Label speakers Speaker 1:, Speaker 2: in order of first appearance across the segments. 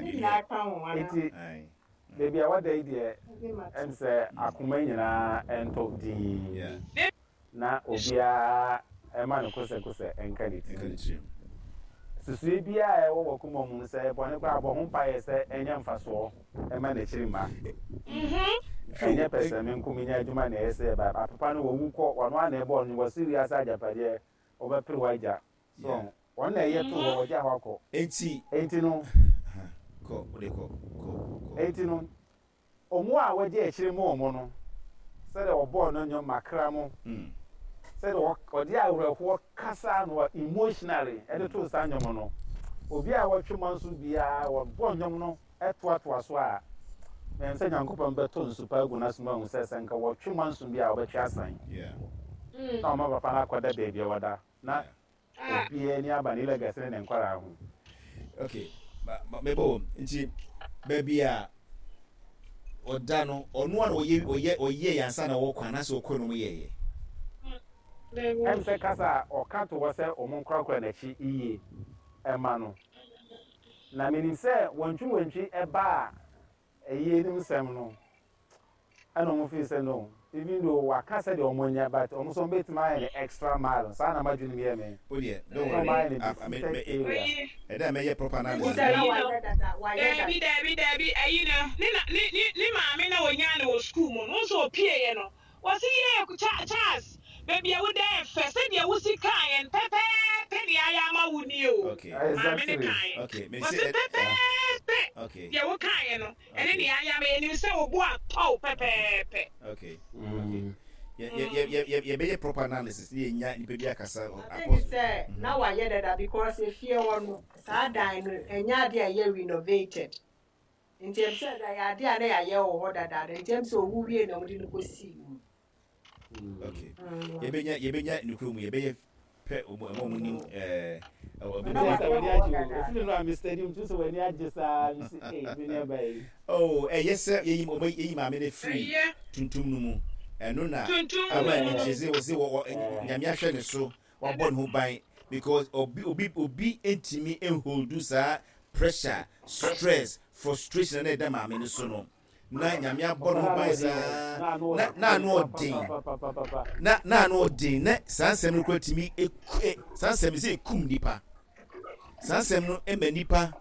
Speaker 1: Ne nyinaa ka ho anaa?
Speaker 2: Enti baabi a wada yi deɛ, ɛm sɛ akoma nyinaa ntɔ dinn na obiara mma ne kosɛkosɛ nka ne tirim. Susuiɛ biara a ɛwɔ w'akoma mu no, sɛ ɛyɛ bɔne koraa a, bɔ ho mpaeɛ sɛ ɛnyɛ mfasoɔ mma n'akyiri mma. Ɛnyɛ pɛsɛmenkominya adwuma na ɛyɛ sɛ ɛba. Apepa no, wawu kɔ, ɔno ara na ɛbɔɔ no, wasi wiase agyapadeɛ, wobɛpere w'agya. So
Speaker 3: Yeah.
Speaker 2: Wɔn na ɛyɛ too hɔ, wɔgyaa hɔ akɔ.
Speaker 3: Enti.
Speaker 2: Enti no.
Speaker 3: Aha, kɔ, wode kɔ, kɔ, kɔ.
Speaker 2: Enti no, wɔn a wɔadi akyire ma wɔn no, sɛdeɛ wɔbɔɔ no nnwom makra mo, sɛdeɛ ɔde awerɛhoɔ kasaa no emotionally de too saa nnwom no, obi a wɔtwe manso biara, wɔbɔ nnwom no toatoa so a, menim sɛ Nyankopɔn bɛtɔ nsu pa agu n'asom ahu sɛ, sɛ nka wɔtwe manso bi a, wɔbɛtwe asan. Na wɔma papa no akɔda baabi a ɔda, na Obiara ani aba ne legacy ne ne nkwadaa ho.
Speaker 3: Okay, mebɔ wɔ nti baabi a ɔda no ɔno a na ɔyɛ ɔyɛ ɔyɛ yɛ ansa na ɔkɔ anaasɛ ɔkɔ na ɔmo yɛɛyɛ.
Speaker 2: Ɛm sɛ kasa a ɔka to hɔ sɛ ɔmo nkorakora n'akyi yie ɛma no. Na menim sɛ wantwi wantwi ɛbaa Ɛyi anim sɛm no ɛna ɔmo feel sɛ no even though waka sɛdeɛ ɔmo nyɛ but ɔmo nso ɔmo bɛtumi ayɛ no extra mile saa na m'adwene mu yɛ me
Speaker 3: Wo deɛ don't
Speaker 2: sɛ ɔmo
Speaker 3: worry
Speaker 2: ayɛ no
Speaker 3: ah, me
Speaker 2: defeated
Speaker 3: me
Speaker 2: area.
Speaker 3: ɛda a mɛyɛ proper analysis
Speaker 1: Sɛ na
Speaker 3: no.
Speaker 1: wayɛ dada, wayɛ dada.
Speaker 4: Daabi, daabi, daabi, ayi no, ne na, ne, ne, ne maame na ɔnyaa no wɔ sukuu mu no, wohu sɛ ɔpieeɛ no, Wɔse yee Cha Charles baabi a woda yɛ fɛ sɛdeɛ wosi kaeɛ no pɛpɛɛpɛ deɛ ayɛ ama wo nie o
Speaker 3: Okay.
Speaker 4: maame no
Speaker 2: Exactly.
Speaker 4: kaeɛ
Speaker 3: Okay. Me
Speaker 4: wɔse
Speaker 3: se
Speaker 4: pɛpɛɛpɛ
Speaker 3: Okay.
Speaker 4: deɛ wo kaeɛ no ɛne
Speaker 3: Okay.
Speaker 4: deɛ ayɛ ama yɛnim sɛ wo bo atɔ wo pɛpɛɛpɛ.
Speaker 3: Okay. Okay. Yɛ yɛ yɛ yɛ yɛ yɛbɛyɛ proper analysis ne yɛnya nipa bi akasa
Speaker 1: I think
Speaker 3: apɔs.
Speaker 1: sɛ na wayɛ dada because efie hɔ no saa dan no ɛnyɛ adeɛ a ɛyɛ renovated. Nti ɛm sɛ ɛyɛ adeɛ a na yɛayɛ wɔ hɔ dadaada nti ɛm sɛ owu wie na wɔde no kɔsii mu.
Speaker 3: Okay. Yɛbɛnya yɛbɛnya nukuro mu yɛbɛyɛ pɛ ɔmo ɛmo ɔmo nim ɛɛ ɛwɔ
Speaker 2: Ɛna
Speaker 3: ɛbɛnya.
Speaker 2: sɛ w'ani agye o efiri no a mi stadium tu sɛ w'ani agye saa mi si ee mi nua ba yi.
Speaker 3: Oh ɛyɛ sɛ yɛyi ɔmo yɛyi maame no firi
Speaker 4: Ɛyɛ.
Speaker 3: tuntum no mu ɛno na
Speaker 4: Tuntum
Speaker 3: ama
Speaker 4: no mu.
Speaker 3: anigye sɛ wɔsɛ wɔ wɔ nyame ahwɛ ne so wabɔ ne ho ban because obi obi obi ntumi nholdu saa pressure, stress, frustration a na ɛda maame no so no na Nyame abɔ ne ho ban saa na na ano ɔden na na ano ɔden na saa nsɛm no kura tumi eku e saa nsɛm no sɛ ekum nipa saa nsɛm no ɛma nipa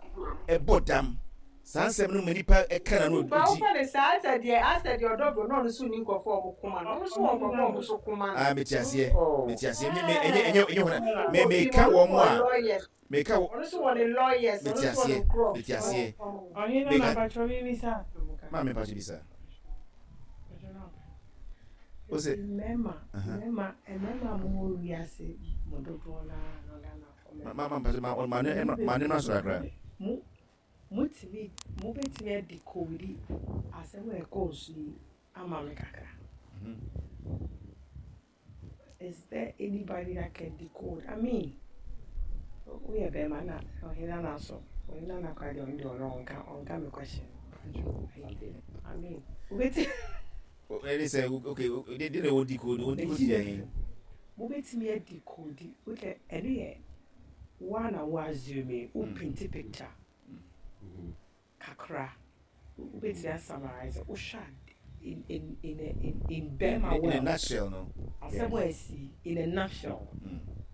Speaker 3: ɛbɔ dam saa nsɛm no ma nipa ɛka na no
Speaker 1: Ba
Speaker 3: ɔdi.
Speaker 1: wofa ne saa asɛ deɛ asɛ deɛ ɔdɔ bro na ɔno nso nni nkurɔfoɔ a ɔmo koma no ɔno nso wɔ nkurɔfoɔ a ɔmo nso koma no.
Speaker 3: Ah mete aseɛ mete aseɛ me me ɛnyɛ ɛnyɛ ɛnyɛ hɔ na me meka wɔn a Meka wo.
Speaker 1: Ɔno nso wɔ ne lawyers, ɔno
Speaker 3: Mete
Speaker 1: nso wɔ ne
Speaker 3: aseɛ,
Speaker 1: nkurɔfoɔ.
Speaker 3: mete aseɛ.
Speaker 5: Ɔhene
Speaker 3: Meka.
Speaker 5: na mpakyɛw mi bisa.
Speaker 3: Maame mpakyɛw bisa. O se.
Speaker 5: Mmarima, mmarima, mmarima a mo wɔ wiase mo dodoɔ naa no Ghanafoɔ mmarima.
Speaker 3: Ma ma mpakyɛw ma ma ne ma ne ma so kakra.
Speaker 5: Mo mo tumi mo betumi adi kowdi asɛm a ɛkɔɔ so yi ama me kakra. Is there anybody that can decode? I mean, woyɛ bɛrima na ɔhene nana so ɔhene nana koraa deɛ ɔno deɛ ɔno ɔnka ɔnka me question. I mean, wobɛti.
Speaker 3: Ɛne sɛ okay de de na wɔ decode wɔ decode yɛ he.
Speaker 5: Mobɛtumi adecode wotɛ ɛno yɛ woa na wo assume wo paint picture. Kakra. Wobɛtumi a summarise wohwɛ a in in in a in in bɛɛma world.
Speaker 3: In a nutshell no.
Speaker 5: Asɛm a asi in a nutshell.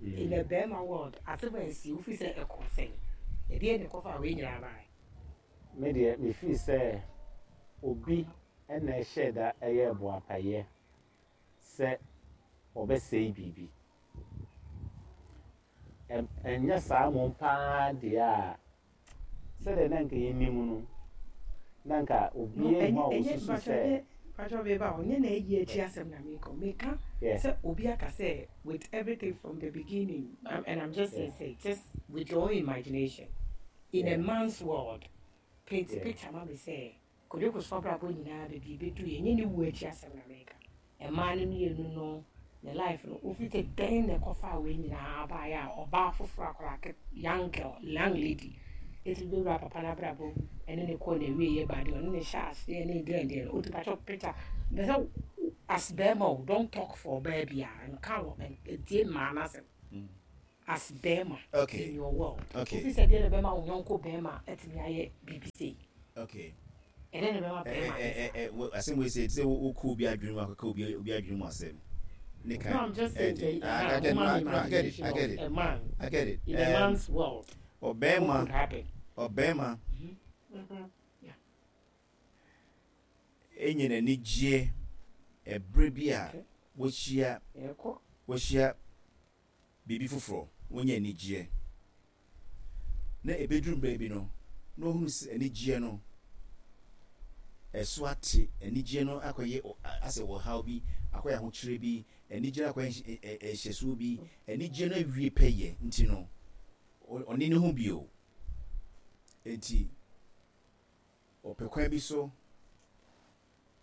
Speaker 5: In a bɛɛma world asɛm a asi wofi sɛ ɛkɔ sɛn? Ɛdeɛn na ɛkɔfaa wei nyinaa baeɛ?
Speaker 2: Me deɛ me feel sɛ obi na ɛhyɛɛ da yɛɛ boapayɛ sɛ ɔbɛsɛe biribi. Ɛnyɛ saa mmom paa deɛ a, sɛdeɛ na anka yɛnim no, na anka obiara nni hɔ a ɔsusu sɛ.
Speaker 5: Mpakyɛw me ba o, nyɛ na ayi akyi asɛm na meka o, meka sɛ obi aka sɛ with everything from the beginning and I'm just saying sɛ just with your own imagination in a man's world paint picture ma me sɛ Kojo Kosoa abrabɔ nyinaa baabi ɛbɛduruiɛ, ɛnyɛ ne wuo akyi asɛm na meka. Mmaa no mmienu no ne life no wofi sɛ dɛn na ɛkɔfaa wei nyinaa baeɛ a ɔbaa foforɔ akwadaa ke young girl young lady ɛtumi bɛwura papa no abrabɔ mu ɛne ne kɔɔ n'awieɛ ba deɛ ɔne ne hyɛ aseɛ ne deɛn deɛn no ɔti pakyɛ picture mpɛ sɛ as bɛrima o don't talk for ɔbaa biara nka wɔ ntie mmaa no asɛm. As bɛɛma
Speaker 3: Okay.
Speaker 5: in your world.
Speaker 3: Okay.
Speaker 5: Wofi sɛ deɛ na ɛbɛma wo yɔnko bɛɛma atumi ayɛ biribi sei?
Speaker 3: Okay.
Speaker 5: Ɛdɛn na ɛbɛma bɛɛma ayɛ saa?
Speaker 3: Ɛ ɛ asɛm wei sɛ te sɛ wokɔ obi adwene mu akɔka obi obi adwene mu asɛm. Ne
Speaker 5: No, I'm just saying sɛ
Speaker 3: I get
Speaker 5: woma me
Speaker 3: no, I get it,
Speaker 5: imagination
Speaker 3: I get
Speaker 5: of
Speaker 3: it.
Speaker 5: a man
Speaker 3: I get it.
Speaker 5: in a man's world. What
Speaker 3: Ɔbɛɛma
Speaker 5: could happen?
Speaker 3: ɔbɛɛma
Speaker 5: Yeah.
Speaker 3: enya n'anigyeɛ ɛberɛ bi a
Speaker 5: Okay.
Speaker 3: wahyia
Speaker 5: Yɛkɔ.
Speaker 3: wahyia biribi foforɔ, wanya anigyeɛ. Na ɛbɛduru baabi no, na ɔhunu sɛ anigyeɛ no ɛso ate, anigyeɛ no akɔyɛ asɛ ɔhaw bi, akɔyɛ ahokyerɛ bi, anigyeɛ no akɔyɛ nhyɛsoɔ bi, anigyeɛ no awie pɛyɛ nti no, ɔne ne ho bio. Enti, ɔpɛ kwan bi so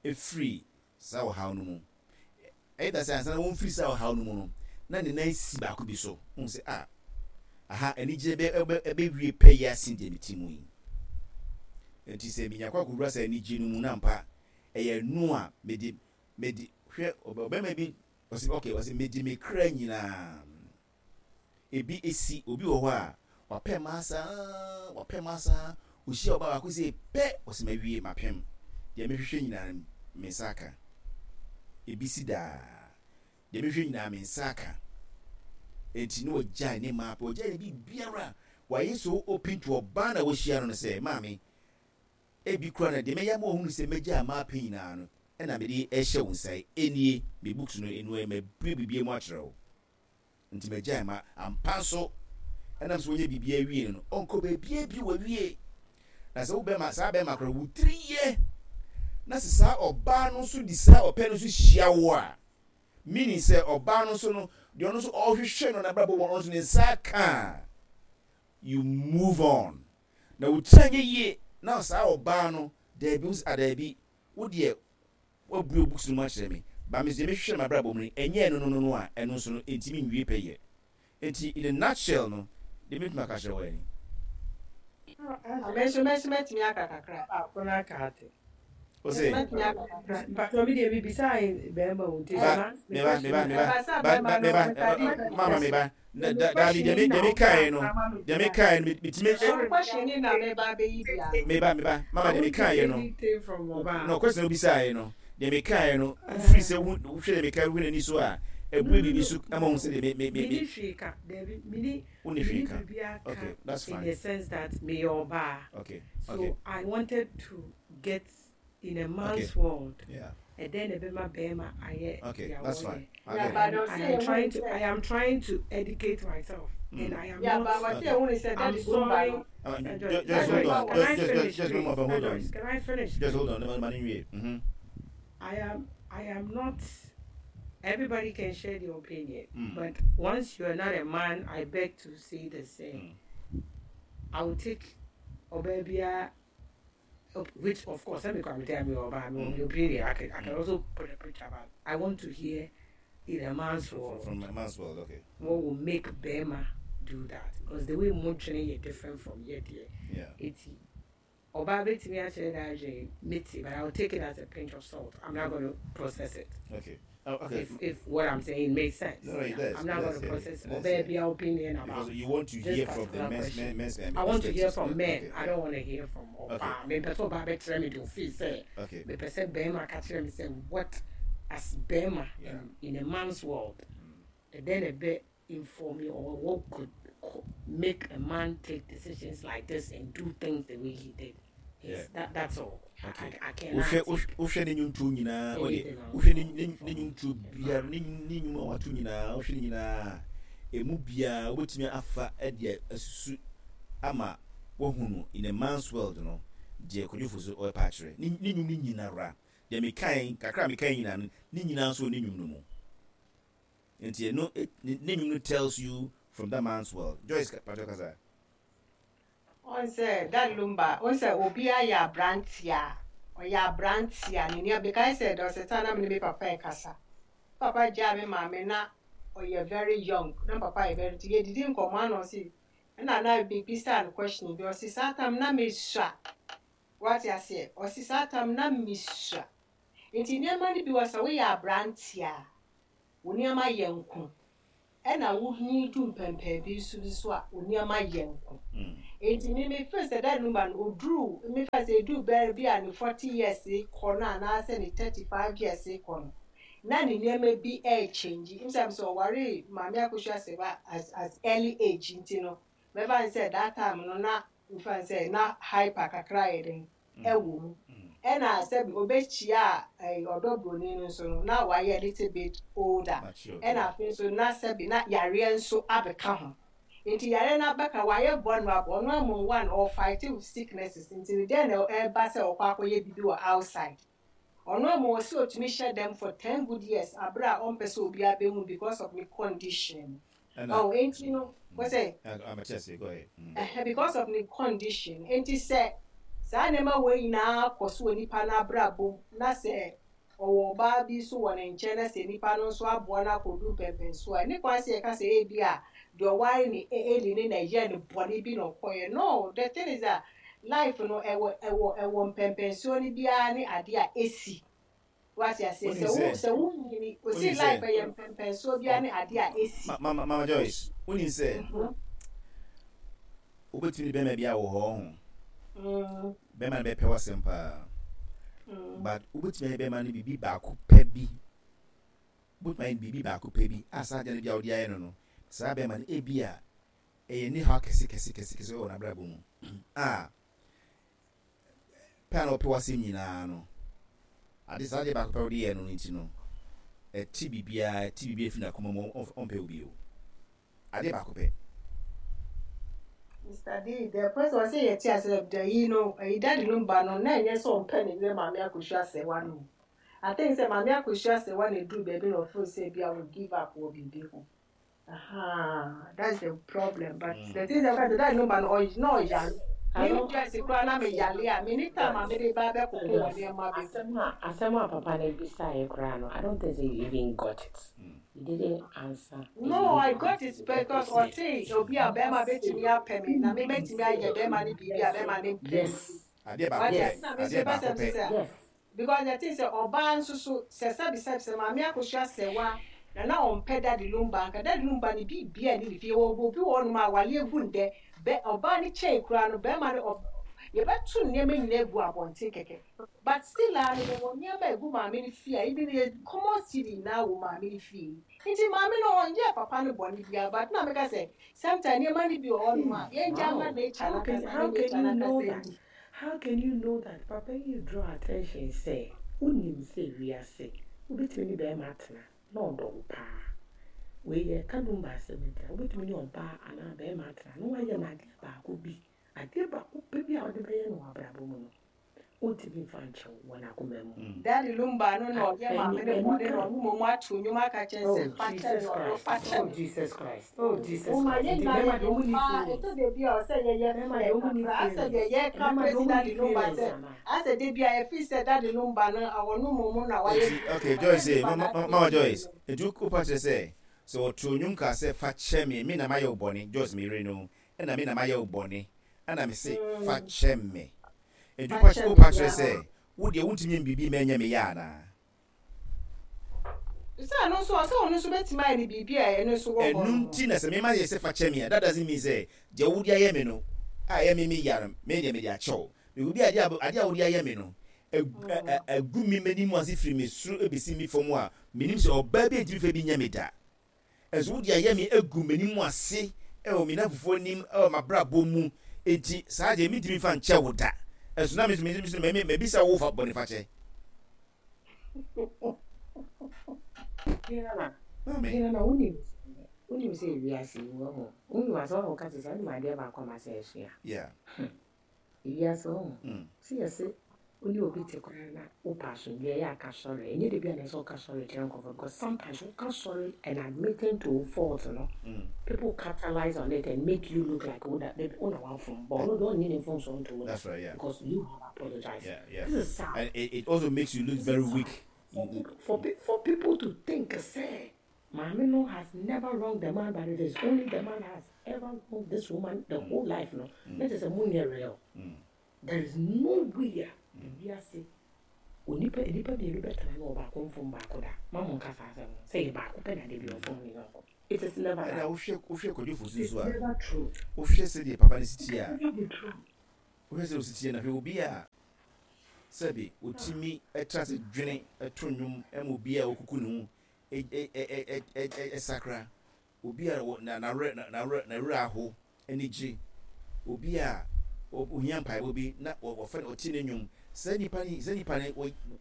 Speaker 3: firi saa ɔhaw no mu. Ɛyɛ da sɛ ansa na wɔmfiri saa ɔhaw no mu no, na ne nan si baako bi so. Wohu sɛ, ah, aha anigyeɛ bɛ, bɛ, ɛbɛwie pɛyɛ asen deɛ mete mu yi. Enti sɛ menya kɔ akɔwura saa anigyeɛ no mu na ampa ɛyɛ ɛno a mede, mede, hwɛ, ɔbarima bi, ɔse, okay, ɔse, mede me kra nyinaa. Ebi esi, obi wɔ hɔ a, wapɛ mmaa saa, wapɛ mmaa saa, ohyia ɔbaa baako sei pɛ, ɔse mawie, mapem. Deɛ mehwehwɛ nyinaa no, me nsa aka. Ebi si daa. Deɛ mehwehwɛ nyinaa, me nsa aka. Enti na wagyae ne mmaa pɛ, wagyae ne biribiara. Wayɛ so open to ɔbaa na wahyia no no sɛ, maame, ebi koraa no, deɛ mɛyɛ ama wahunu sɛ magyae mmaa pɛ nyinaa no, ɛna mede rehyɛ wo nsa yi. Enie, me books no, eno ɛ, mabue biribiara mu akyerɛ wo. Nti magyae ma ampa nso ɛnam sɛ wanya biribiara awie no no, ɔnkɔ baabiara bio, wawie. Na sɛ wo bɛma, saa bɛma koraa, wo tiri yɛ, na sɛ saa ɔbaa no nso di saa ɔpɛ no nso hyia wo a, meaning sɛ ɔbaa no nso no, deɛ ɔno nso ɔrehwehwɛ no n'abrabɔ mu, ɔno nso ne nsa aka a, you move on. Na wo tiri anyɛ yie, na saa ɔbaa no, daabi, wo sɛ, ah daabi, wo deɛ, Woabue wo books no mu akyerɛ me, but me deɛ mehwehwɛ no m'abrabɔ mu no, ɛnyɛ ɛno no no no a, ɛno nso no, ɛntumi nwie pɛ yɛ. Enti in a nutshell no, deɛ mɛtumi aka akyerɛ wo ara ni.
Speaker 1: Ah, me nso, me nso mɛtumi aka kakra.
Speaker 5: Baako no aka ate.
Speaker 3: Wo se?
Speaker 1: Mɛtumi aka kakra.
Speaker 5: Mpatsɔ mi deɛ mi bisa bɛrima o nti
Speaker 3: Ba, me ba, me ba, me ba, ba, ba, me ba, mama me ba. Na da daabi deɛ me deɛ me kaeɛ no deɛ me kaeɛ no metumi.
Speaker 1: Ɛno question ni na me ba bɛyi bi ano.
Speaker 3: Me ba me ba mama deɛ me kaeɛ no no question obisaeɛ no deɛ me kaeɛ no wofiri sɛ wohwɛ deɛ me kaeɛ wohwɛ n'ani so a ɛbue biribi so ama wohu sɛ deɛ me me me.
Speaker 5: Mini hwee ka daabi mini
Speaker 3: Wonni hwee
Speaker 5: mini
Speaker 3: ka
Speaker 5: biribiara ka
Speaker 3: okay that's
Speaker 5: in
Speaker 3: fine
Speaker 5: the sense that meyɛ ɔbaa
Speaker 3: okay
Speaker 5: so
Speaker 3: okay.
Speaker 5: I wanted to get in a
Speaker 3: Okay
Speaker 5: man's world
Speaker 3: yeah.
Speaker 5: ɛdɛn na ɛbɛma bɛrima ayɛ
Speaker 3: Okay
Speaker 5: deɛ
Speaker 3: that's
Speaker 5: wɔyɛ
Speaker 3: fine I
Speaker 1: Yeah,
Speaker 3: get it.
Speaker 1: but
Speaker 5: and
Speaker 1: ɔsɛ
Speaker 5: I am
Speaker 1: ehu
Speaker 5: trying to
Speaker 1: sɛ
Speaker 5: I am trying to educate myself and I am
Speaker 1: yeah,
Speaker 5: not
Speaker 1: but ɔsɛ
Speaker 3: Okay.
Speaker 1: ehu sɛ
Speaker 5: I'm
Speaker 1: Daddy Lumba
Speaker 5: sorry
Speaker 1: no.
Speaker 5: Joyce
Speaker 3: Just, just
Speaker 1: Daddy
Speaker 3: hold
Speaker 1: Lumba
Speaker 3: on.
Speaker 1: wɔ
Speaker 5: can I
Speaker 3: Just, just, just,
Speaker 5: finish
Speaker 3: just
Speaker 5: please
Speaker 3: hold on. Hold on.
Speaker 5: Joyce can I finish
Speaker 3: Just hold
Speaker 5: please
Speaker 3: on. No, man, mm-hmm.
Speaker 5: I am not everybody can share their opinion but once you are not a man I beg to say the same I will take ɔbaa which of course let me come tell me about my opinion I can also put a picture but I want to hear in a man's world
Speaker 3: From a man's world, okay.
Speaker 5: what will make bɛrima do that because the way mo dwene yɛ different from yɛ deɛ
Speaker 3: Yeah.
Speaker 5: eti ɔbaa betumi akyerɛ n'adwene meti but I will take it as a pinch of salt I'm not going to process it
Speaker 3: Okay. Oh, okay.
Speaker 5: if what I'm saying makes sense
Speaker 3: No, no, it does.
Speaker 5: I'm not
Speaker 3: It
Speaker 5: going
Speaker 3: does,
Speaker 5: to
Speaker 3: yeah.
Speaker 5: process
Speaker 3: It does,
Speaker 5: ɔbaa
Speaker 3: yeah.
Speaker 5: bi opinion
Speaker 3: Because
Speaker 5: about
Speaker 3: you want to
Speaker 5: this
Speaker 3: hear from the
Speaker 5: particular
Speaker 3: men's
Speaker 5: question.
Speaker 3: men, men's
Speaker 5: I want to hear
Speaker 3: perspectives.
Speaker 5: from
Speaker 3: Yeah.
Speaker 5: men.
Speaker 3: Okay.
Speaker 5: I don't want to hear from
Speaker 3: Okay.
Speaker 5: ɔbaa. Mepɛ sɛ ɔbaa bɛkyerɛ me deɛ ofii sɛ
Speaker 3: Okay.
Speaker 5: mepɛ sɛ bɛrima ka kyerɛ me sɛ what as bɛrima
Speaker 3: Yeah.
Speaker 5: in a man's world ɛdɛn na ɛbɛ inform you or what could make a man take decisions like this and do things the way he did.
Speaker 3: Yeah.
Speaker 5: It's that that's all.
Speaker 3: Okay.
Speaker 5: I cannot
Speaker 3: Wohwɛ
Speaker 5: take
Speaker 3: wohwɛ ne nnwontoɔ nyinaa ɔde
Speaker 5: anything else
Speaker 3: wohwɛ ne ne
Speaker 5: from
Speaker 3: ne nnwontoɔ biara ne ne nnwom a wato nyinaa wohwɛ ne nyinaa emu biara wobɛtumi afa ɛde asusu ama wahu no in a man's world no deɛ Kwadwo Fosu ɔrepa akyerɛ ne ne nnwom no nyinara deɛ mekae kakra a mekae nyinaa no ne nyinaa nso wɔ ne nnwom no mu nti ɛno ne nnwom no tells you from that man's world. Joyce Patro kasa.
Speaker 1: Ɔn sɛ Daddy Lumba, ɔn sɛ obi ayɛ aberanteɛ a, ɔyɛ aberanteɛ a n'ani abekae sɛ there was a time na me ne me papa ɛkasa. Papa gyaa me maame na ɔyɛ very young, na papa yɛ very nti yɛdidi nkɔmmɔ ana ɔse ɛna na mebisa no question bi ɔse saa time na mesua. Wate aseɛ? Ɔse saa time na mesua. Nti nneɛma no bi wɔ sɛ woyɛ aberanteɛ a, wo nneɛma yɛ nko. Ɛna wo nyin du mpɛmpɛn bi nso bi so a wo nneɛma yɛ nko. Enti me me feel sɛ that number no oduru me fa sɛ eduru bɛyɛ bi a ne 40 years kɔ no anaasɛ ne 35 years kɔ no na ne nneɛma bi ɛɛchange. Nsɛm sɛ ɔwaree Maame Akosua Serwaa as as early age nti no mɛfa no sɛ that time no na mefa no sɛ na hyper kakra ayɛ dɛn ɛwɔ mu. Ɛna sɛbi ɔbɛkyia ɛyi ɔdɔ broni no nso no na wayɛ a little bit older. Ɛna afei nso na sɛbi na yareɛ nso abɛka ho. Nti yareɛ no abɛka wayɛ vulnerable ɔno amom one ɔfight with sicknesses nti no dɛn na ɛba sɛ ɔkɔ akɔyɛ biribi wɔ outside. Ɔno amom ɔsɛ ɔtumi hyɛ dɛm for 10 good years abere a ɔmpɛ sɛ obiara bɛhu because of ne condition.
Speaker 3: Ɛna.
Speaker 1: Oh, enti no, wɔ sɛ.
Speaker 3: Mate ase, go ahead.
Speaker 1: Ɛhɛ, because of ne condition. Enti sɛ saa nneɛma wei nyinaa kɔ so wɔ nipa no abrabɔ mu, na sɛ ɔwɔ ɔbaa bi nso wɔ ne nkyɛn na sɛ nipa no nso aboa no akɔdu mpɛnpɛnsoɔ a, ɛne kwan sɛ yɛka sɛ ebi a deɛ ɔware ne Eli no na ɛyɛɛ no bɔne bi na ɔkɔeɛ. No, the thing is that life no ɛwɔ ɛwɔ ɛwɔ mpɛnpɛnsoɔ no biara ne adeɛ a ɛsi. Wate aseɛ?
Speaker 3: Wonim
Speaker 1: Sɛ wo
Speaker 3: sɛ,
Speaker 1: sɛ wo nyini,
Speaker 3: wonim
Speaker 1: ɔsi
Speaker 3: sɛ,
Speaker 1: life ɛyɛ mpɛmpɛnsoɔ biara ne adeɛ a ɛsi.
Speaker 3: Ma, ma, Mama Joyce, wonim sɛ, wobɛtumi ne bɛrima bi awɔ hɔ, ɔho. Bɛrima no bɛpɛ w'asɛm paa. But wobɛtumi ayɛ bɛrima no biribi baako pɛ bi. Wobɛtumi ayɛ no biribi baako pɛ bi a saa adeɛ no bi a wode ayɛ no no, saa bɛrima no ebi a ɛyɛ ne haw kɛse kɛse kɛse kɛse wɔ n'abrabɔ mu a pɛ a na ɔpɛ w'asɛm nyinaa no, ade saa adeɛ baako pɛ a wode yɛɛ no no nti no, ɛte biribiara, ɛte biribiara fi n'akoma mu, ɔmpɛ wo bio. Adeɛ baako pɛ.
Speaker 1: Mister D, the person ɔsɛ yɛte ase dɛ yi no, ɛyi daddy no ba no, na ɛnyɛ sɛ ɔmpɛ ne yere Maame Akosua Asɛwa no o. I think sɛ Maame Akosua Asɛwa na ɛduru baabi na ɔfeel sɛ bi a wɔ give up wɔ biribi ho. Ahaa, that's the problem. But the thing is that that number no ɔy na ɔyare. Me
Speaker 5: Ano
Speaker 1: dress koraa na me yale a, me ni time a me de ba bɛkoko wɔ nneɛma bi ho.
Speaker 5: Asɛm a asɛm a papa no bisaeɛ koraa no, I don't think sɛ you even got it. You didn't answer and you
Speaker 1: No, I
Speaker 5: didn't
Speaker 1: got
Speaker 5: answer
Speaker 1: it
Speaker 5: the
Speaker 1: because
Speaker 5: purpose yɛ.
Speaker 1: ɔte obi a bɛrima
Speaker 5: Ɔse
Speaker 1: bɛtumi apɛ me na me mɛtumi
Speaker 5: sɛ
Speaker 1: ayɛ bɛrima no biribi a
Speaker 5: yes
Speaker 1: bɛrima no mpɛ no.
Speaker 5: yes
Speaker 3: Adeɛ baako
Speaker 1: Wate
Speaker 3: pɛ,
Speaker 1: ase
Speaker 5: yes
Speaker 1: na me nso
Speaker 3: adeɛ
Speaker 1: mepɛ
Speaker 3: baako
Speaker 1: sɛ
Speaker 3: pɛ.
Speaker 1: nso sɛ
Speaker 5: yes.
Speaker 1: Because the thing sɛ ɔbaa nso so sɛ sɛbi sɛbi sɛ maame akosua sɛwa na na ɔmpɛ daddy lumba anka daddy lumba ne biribiaa nni ne fie yɛwɔ obi wɔ hɔnom a awale agu ndɛ bɛ ɔbaa no kyɛe koraa no bɛɛma no ɔb yɛbɛto nneɛma nyinaa agu abɔnten kɛkɛ but still aa no yɛwɔ nneɛma a ɛgu maame no fie a even yɛ common cedi nyinaa wɔ maame no fie nti maame no ɔnyɛɛ papa no bɔne biaa but na meka sɛ sometimes nneɛma no bi wɔ hɔnom a yɛngya mma
Speaker 5: How?
Speaker 1: nature
Speaker 5: How can
Speaker 1: no ankasa na
Speaker 5: how can
Speaker 1: nature
Speaker 5: you
Speaker 1: no
Speaker 5: know
Speaker 1: ankasa
Speaker 5: that?
Speaker 1: ndi.
Speaker 5: How can you know that? Papa yi draw attention sɛ wonim sɛ wiase wobɛtumi ne bɛrima atena na ɔdɔ wo paa. Wei yɛreka number asɛm nti a wobɛtumi ne ɔbaa anaa bɛrima atena na woayɛ no adeɛ baako bi adeɛ baako pɛ bi a wode bɛyɛ no wɔ abrabɔ mu no Ontumi mfa nkyɛ wo wɔ n'akoma mu.
Speaker 1: Daddy Lumba no na ɔyɛ maame no bɔne na ɔno mmom ato nnwom aka kyerɛ no
Speaker 5: Oh
Speaker 1: sɛ fa kyɛ
Speaker 5: Jesus
Speaker 1: me ɔdɔ
Speaker 5: Christ,
Speaker 1: fa kyɛ
Speaker 5: oh
Speaker 1: me.
Speaker 5: Jesus Christ, oh Jesus
Speaker 1: Momma
Speaker 5: Christ.
Speaker 1: yɛn
Speaker 5: Nti
Speaker 1: nyinaa
Speaker 5: mmarima
Speaker 1: yɛyɛ
Speaker 5: deɛ ɔmo nni
Speaker 1: mmaa
Speaker 5: feelings.
Speaker 1: ɛtɔ da bi a ɔsɛ yɛyɛ
Speaker 5: Mmarima
Speaker 1: fair
Speaker 5: deɛ ɔmo nni
Speaker 1: kakra asɛ
Speaker 5: feelings.
Speaker 1: deɛ yɛka
Speaker 5: Mmarima deɛ
Speaker 1: praise
Speaker 5: ɔmo nni
Speaker 1: Daddy Lumba
Speaker 5: feelings
Speaker 1: sɛ
Speaker 5: anaa?
Speaker 1: asɛ da bi a yɛfeel sɛ Daddy Lumba no ɔno mmom na wayɛ
Speaker 3: Enti
Speaker 1: biribi
Speaker 3: okay
Speaker 1: but
Speaker 3: Joyce
Speaker 1: Daddy
Speaker 3: eh,
Speaker 1: Lumba
Speaker 3: mama
Speaker 1: n'adeɛ
Speaker 3: mama
Speaker 1: yie
Speaker 3: Joyce,
Speaker 1: no.
Speaker 3: enti wo wopa kyerɛ sɛ sɛ ɔtoo nnwom kaa sɛ fa kyɛ me, me na mayɛ wo bɔne, Joyce me yere no, ɛna me na mayɛ wo bɔne, ɛna me se fa kyɛ me. Enti
Speaker 1: Fa
Speaker 3: wopa
Speaker 1: kyɛ me
Speaker 3: wopa kyerɛ
Speaker 1: yeah.
Speaker 3: sɛ wo deɛ wontumi nyɛ me biribi mma ɛnyɛ me ya anaa?
Speaker 1: Sɛ ɛno nso ɔsɛ ɔno nso bɛtumi ayɛ no biribi a ɛno nso wɔ hɔ
Speaker 3: Ɛno
Speaker 1: no.
Speaker 3: nti na sɛ mema yɛ sɛ fa kyɛ me a, that doesn't mean sɛ deɛ wode ayɛ me no a ɛyɛ me me ya no, me deɛ mede akyɛ wo. Because bi a adeɛ a adeɛ a wode ayɛ me no, agu me m'anim ase firi me soro bɛsi me fam a, menim sɛ ɔbaa bi ntumi fa bi nyɛ me da. Nso wode ayɛ me agu m'anim ase wɔ me nnamfofoɔ anim wɔ m'abrabɔ mu, enti saa deɛ mentumi mfa nkyɛ wo da. Nso na me nso me nso me mabisa wo fa bɔnefakyɛ.
Speaker 5: Hena
Speaker 3: Maame.
Speaker 5: hena na wonim wonim sɛ ewiase yi wahu wonim asɛm a wɔka te sɛ wonim adeɛ baako a masɛ asua
Speaker 3: Yeah.
Speaker 5: Ewiase wahu sɛ yɛse wo ne obi te koraa na wopɛ asomdwoeɛ ɛyɛ a ka sorry ɛnyɛ da biara na ɛsɛ sɛ woka sorry kyerɛ nkurɔfoɔ because sometimes woka sorry and admitting to wo fault no people capitalize on it and make you look like wo na wo na wafom but ɔno deɛ ɔnnye ne mfomsoɔ nto mu da
Speaker 3: That's right, yeah.
Speaker 5: because you have apologized
Speaker 3: Yeah, yeah.
Speaker 5: this is sad
Speaker 3: And it, it also makes you look
Speaker 5: this
Speaker 3: very
Speaker 5: is sad
Speaker 3: weak.
Speaker 5: for people for, for people to think sɛ Maame no has never wronged the man but it is only the man has ever wronged this woman the whole life no na kyerɛ sɛ mo nyɛ real there is no way a ewiase Onipa nnipa mmienu bɛtena na ɔbaako mfom baako da. Ma mo nka saa asɛm no. Sɛ yɛ baako pɛ na da bi ɔfom ne yɔnko. It is never
Speaker 3: Ɛna
Speaker 5: that.
Speaker 3: wohwɛ wohwɛ Kwadwo Fosu
Speaker 5: It's
Speaker 3: nso a,
Speaker 5: never true.
Speaker 3: wohwɛ sɛdeɛ papa no si
Speaker 5: It
Speaker 3: teɛ
Speaker 5: can
Speaker 3: a,
Speaker 5: never be true.
Speaker 3: wohwɛ sɛdeɛ ɔsi teɛ na hwɛ obi a sɛbe ɔtumi tra ase dwene to nnwom ma obi a ɔkuku ne ho sakra, obi a n'awerɛ aho ani gye, obi a ohia mpaebɔ bi na wɔfrɛ no ɔte ne nnwom. Saa nipa no, saa nipa no,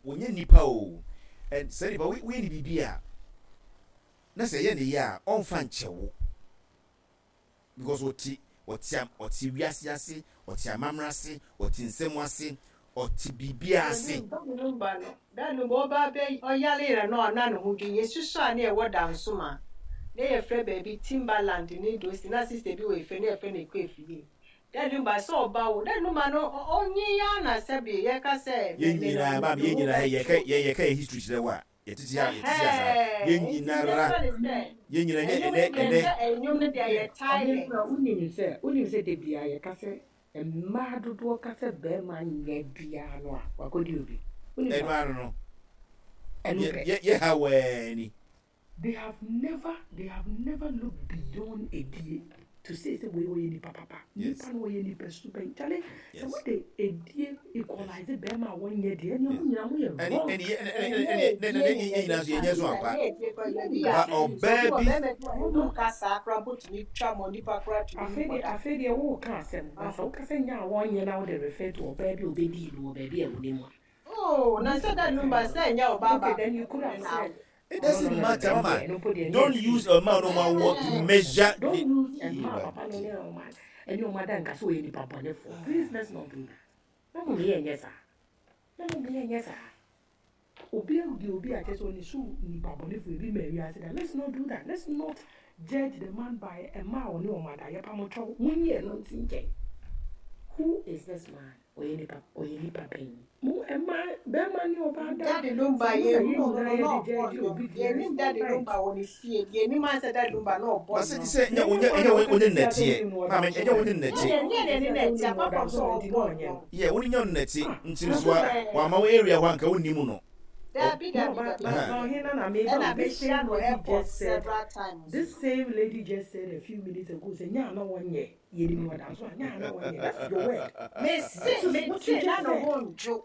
Speaker 3: wɔnyɛ nipa o. And saa nipa woyɛ ne biribi a, na sɛ ɛyɛ ne yɛ a, ɔmfa nkyɛ wo. Because ɔte ɔte ɔte wiase ase, ɔte amammerɛ ase, ɔte nsɛm ase, ɔte biribiara ase.
Speaker 1: Daddy no, da no ɔba bɛ ɔyare yɛ no a na ne ho dwen. Yɛsusua a na yɛwɔ Dansoma, na yɛfrɛ baabi Timberland ne Dosi, na sister bi wɔ Efe na yɛfrɛ no Ekuefie. Daddy no ba sɛ ɔba o, daddy no ma no ɔnye ya na sɛbe yɛka sɛ
Speaker 3: Yɛn nyinaa, maame, yɛn nyinaa, yɛka yɛka yɛ history kyerɛ wo a, Yɛtete ha, yɛtete ha saa. Yɛn nyinara, yɛn nyina nyɛ ɛnɛ, ɛnɛ.
Speaker 5: Ɔhene wonim sɛ, wonim sɛ da biara yɛka sɛ mmaa dodoɔ ka sɛ barima nyɛ biara no a, wakɔdi obi. Wonim
Speaker 3: Ɛno
Speaker 5: saa?
Speaker 3: ano no,
Speaker 5: Ɛno
Speaker 3: yɛ
Speaker 5: pɛ.
Speaker 3: yɛ yɛ ha wɛɛ ni.
Speaker 5: They have never they have never looked beyond edie to say sɛ wei ɔyɛ nipa papa.
Speaker 3: Yes.
Speaker 5: Nipa no ɔyɛ nipa su bɛn. Kyale sɛ
Speaker 3: Yes.
Speaker 5: wode edie equalize bɛrima a wɔnyɛ deɛ ɛneɛ
Speaker 3: Yes.
Speaker 5: mo nyinaa moyɛ
Speaker 3: Ɛne
Speaker 5: wrong.
Speaker 3: ɛne yɛ ɛne ɛne ɛne ɛne ɛne yɛn nyinaa nso yɛnyɛ so ampa. Ba ɔbaa bi.
Speaker 5: Afei deɛ afei deɛ woreka asɛm na sɛ woka sɛ nyɛ a wɔnyɛ na wode refer to ɔbaa bi a ɔbɛdii no wɔ baabi a wonim a.
Speaker 1: Oh, na sɛ da numba sɛ nyɛ ɔbaa
Speaker 5: Okay,
Speaker 1: baako
Speaker 5: then you could have
Speaker 1: na
Speaker 5: said
Speaker 3: It
Speaker 5: no no
Speaker 3: doesn't
Speaker 5: no no
Speaker 3: matter,
Speaker 5: ɛno
Speaker 3: mama.
Speaker 5: deɛ ɛno mpo deɛ ɛnyɛ
Speaker 3: Don't use
Speaker 5: excuse.
Speaker 3: a man no ma what to measure
Speaker 5: Don't
Speaker 3: the.
Speaker 5: use mmaa papa no ne ɔma ɛne ɔma da nka sɛ ɔyɛ nipa bɔnefoɔ. Please let's not do that. Na mo yɛ nyɛ saa. Na mo yɛ nyɛ saa. Obi di obi a kyerɛ sɛ ɔne so nipa bɔnefoɔ ebi ma wiase da. Let's not do that. Let's not judge the man by mmaa a ɔne ɔma da. Yɛpa mo kyɛw. Monyi ɛno nsi nkyɛn. Who is this man? Ɔyɛ nipa ɔyɛ nipa bɛn? Mo mmaa bɛrima ne ɔbaa da.
Speaker 1: Daddy Lumba
Speaker 5: Sɛ mo
Speaker 1: yɛ
Speaker 5: na yɛn
Speaker 1: hu no
Speaker 5: nyinaa
Speaker 1: na
Speaker 5: yɛde
Speaker 1: ɔbɔ
Speaker 5: judge
Speaker 1: nnwom.
Speaker 5: obi deɛ
Speaker 1: Yɛnim
Speaker 5: it's not
Speaker 1: Daddy
Speaker 5: right.
Speaker 1: Lumba wɔ ne fie. Yɛnim ansɛ Daddy Lumba na ɔbɔ
Speaker 3: But sɛ
Speaker 1: nnwom.
Speaker 3: sɛ ɛnyɛ
Speaker 5: Na
Speaker 3: wonyɛ
Speaker 5: ɛnyɛ
Speaker 3: ɛnyɛ
Speaker 5: wɔn na
Speaker 3: wonyɛ
Speaker 5: wɔka sisi asɛ
Speaker 3: nnɛteɛ
Speaker 5: wonim no
Speaker 3: maame
Speaker 5: ɔda so
Speaker 3: ɛnyɛ wonyɛ
Speaker 5: a.
Speaker 3: nnɛte
Speaker 1: Nyɛ nyɛ
Speaker 5: Sisi
Speaker 1: n'ani na
Speaker 5: asɛ
Speaker 1: ɛte
Speaker 5: wonim no
Speaker 1: apart
Speaker 5: ɔda
Speaker 1: from
Speaker 5: so
Speaker 1: sɛ
Speaker 5: a nti na
Speaker 1: ɔbɔ
Speaker 5: ɔnyɛ no.
Speaker 1: nnwom.
Speaker 3: yɛ wonyɛ nnɛte
Speaker 5: Ah,
Speaker 3: nti
Speaker 5: na
Speaker 3: nso
Speaker 5: sɛ
Speaker 3: a wama wo area hɔ anka wonnim no.
Speaker 1: Dabi
Speaker 5: No,
Speaker 1: dabi
Speaker 5: but
Speaker 1: dabi
Speaker 5: but
Speaker 1: dabi.
Speaker 5: but Hena na meba
Speaker 1: Ɛna
Speaker 5: o. This
Speaker 1: mehyia
Speaker 5: same
Speaker 1: no
Speaker 5: lady
Speaker 1: airport
Speaker 5: just said
Speaker 1: several times.
Speaker 5: this same lady just said a few minutes ago sɛ nya na wɔnyɛ yɛnim no ɔda so a nya na wɔnyɛ. That's your word.
Speaker 1: Mese
Speaker 5: This is what you
Speaker 1: mese na
Speaker 5: just
Speaker 1: ne
Speaker 5: said.
Speaker 1: ho ndwo.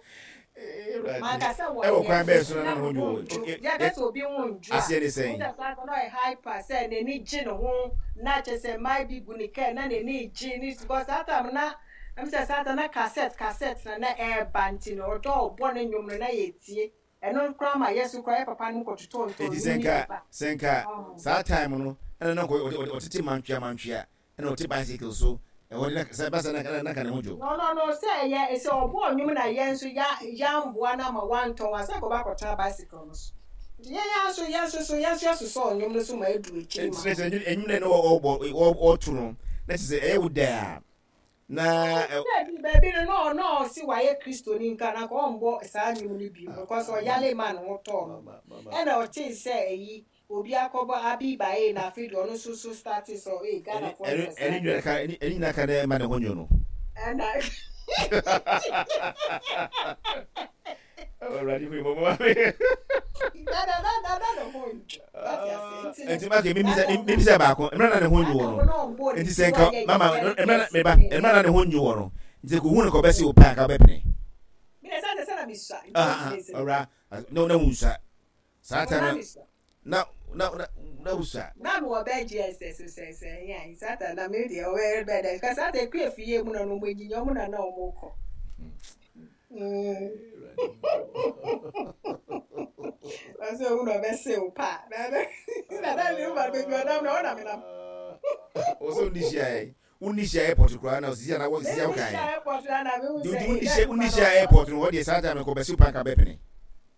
Speaker 1: Maka sɛ
Speaker 3: Ɛwɔ
Speaker 1: wɔnyɛ
Speaker 3: kwan bɛɛ so na
Speaker 1: na
Speaker 3: na ne
Speaker 1: ne
Speaker 3: ho
Speaker 1: ho
Speaker 3: nwo
Speaker 1: ndwo. Yɛka sɛ obi ho ndwo a,
Speaker 3: aseɛ ne sɛn.
Speaker 1: wohu sɛ saa na ɔyɛ hyper sɛ n'ani gye ne ho na kyerɛ sɛ mmaa bi gu ne kaa na n'ani gye ne because saa time na ɛm sɛ saa time na cassette cassette na na ɛɛba nti no ɔdɔ ɔbɔ ne nnwom no na yɛtie. Ɛno koraa ma yɛ so koraa yɛ papa no kɔtotɔ ntɔ
Speaker 3: Eti
Speaker 1: nnwom
Speaker 3: sɛ
Speaker 1: no
Speaker 3: nka
Speaker 1: bi ba.
Speaker 3: sɛ nka saa time no ɛna na nka ɔtete mantwea mantwea ɛna ɔte bicycle so ɛhɔ de na sɛ basa na na nka ne ho dwo.
Speaker 1: No no no sɛ ɛyɛ sɛ ɔbɔ nnwom na yɛn nso ya yɛamboa no ama wantɔn a sɛ nkɔba akɔtena bicycle no so. Nti yɛn yɛn nso yɛn nso so yɛn nso yɛsosɔ nnwom no so ma edu akyiri
Speaker 3: Nti
Speaker 1: ma.
Speaker 3: na sɛ ɛnwom na ɔbɔ ɔto no na kyerɛ sɛ ɛyɛ wo dɛ a na
Speaker 1: Baabi baabi no na ɔno a ɔsi wayɛ kristoni nka na nka ɔmbɔ saa nnwom no bi because ɔyale ma ne ho tɔɔ no. Ɛna ɔtee sɛ ɛyi obi akɔbɔ abi bae na afei deɛ ɔno nso so start sɛ ee Ghanafoɔ
Speaker 3: ɛne
Speaker 1: mpɛ saa
Speaker 3: ɛne nyina ka ɛne nyina ka na ɛma ne ho nwo no.
Speaker 1: ɛna
Speaker 3: Awurade hu mmɔbɔ ma me.
Speaker 1: dada dada na ne ho ndwo. Wate ase nti no
Speaker 3: Nti maka mimisa
Speaker 1: dada
Speaker 3: mimisa baako mmerɛ na ne ho nwo
Speaker 1: dada
Speaker 3: no.
Speaker 1: na ɔmbɔ ne
Speaker 3: Nti
Speaker 1: ti
Speaker 3: sɛ nka
Speaker 1: wayɛ
Speaker 3: mama
Speaker 1: yɛ
Speaker 3: mmerɛ na meba
Speaker 1: kɛse
Speaker 3: mmerɛ na ne ho nwo wɔ no. Nti ko hu no kɔ bɛsi wo pɛ anka wobɛpene.
Speaker 1: mi na sɛ sɛ na misua nti
Speaker 3: Ah
Speaker 1: ɔntumi
Speaker 3: ah
Speaker 1: nsɛ
Speaker 3: ɔwura na na wusua. Saa
Speaker 1: na
Speaker 3: time
Speaker 1: misua.
Speaker 3: na na na na wusua.
Speaker 1: Na mi wɔ bɛɛ GSS sɛ sɛ ɛyɛ sata na mi deɛ ɔbɛ bɛ dɛ ka sata ekue fie mu na ɔmo enyinya ɔmo na na ɔmo kɔ. Ɔsɛ ohun na ɔbɛ se o pa na na na na mi ma beebi ɔnam na ɔnam nam.
Speaker 3: Ɔsɛ wonni hyia ɛ wonni hyia airport koraa na osisi ana wɔ sisi
Speaker 1: Mi
Speaker 3: awo kan
Speaker 1: hyia airport na na mi hu
Speaker 3: Nti
Speaker 1: sɛ
Speaker 3: wonni
Speaker 1: ee
Speaker 3: hyia
Speaker 1: dadi
Speaker 3: wonni
Speaker 1: ma na
Speaker 3: hyia
Speaker 1: ɔbɔ.
Speaker 3: airport no wɔdeɛ saa time no kɔ bɛsi wo pa anka wobɛpene.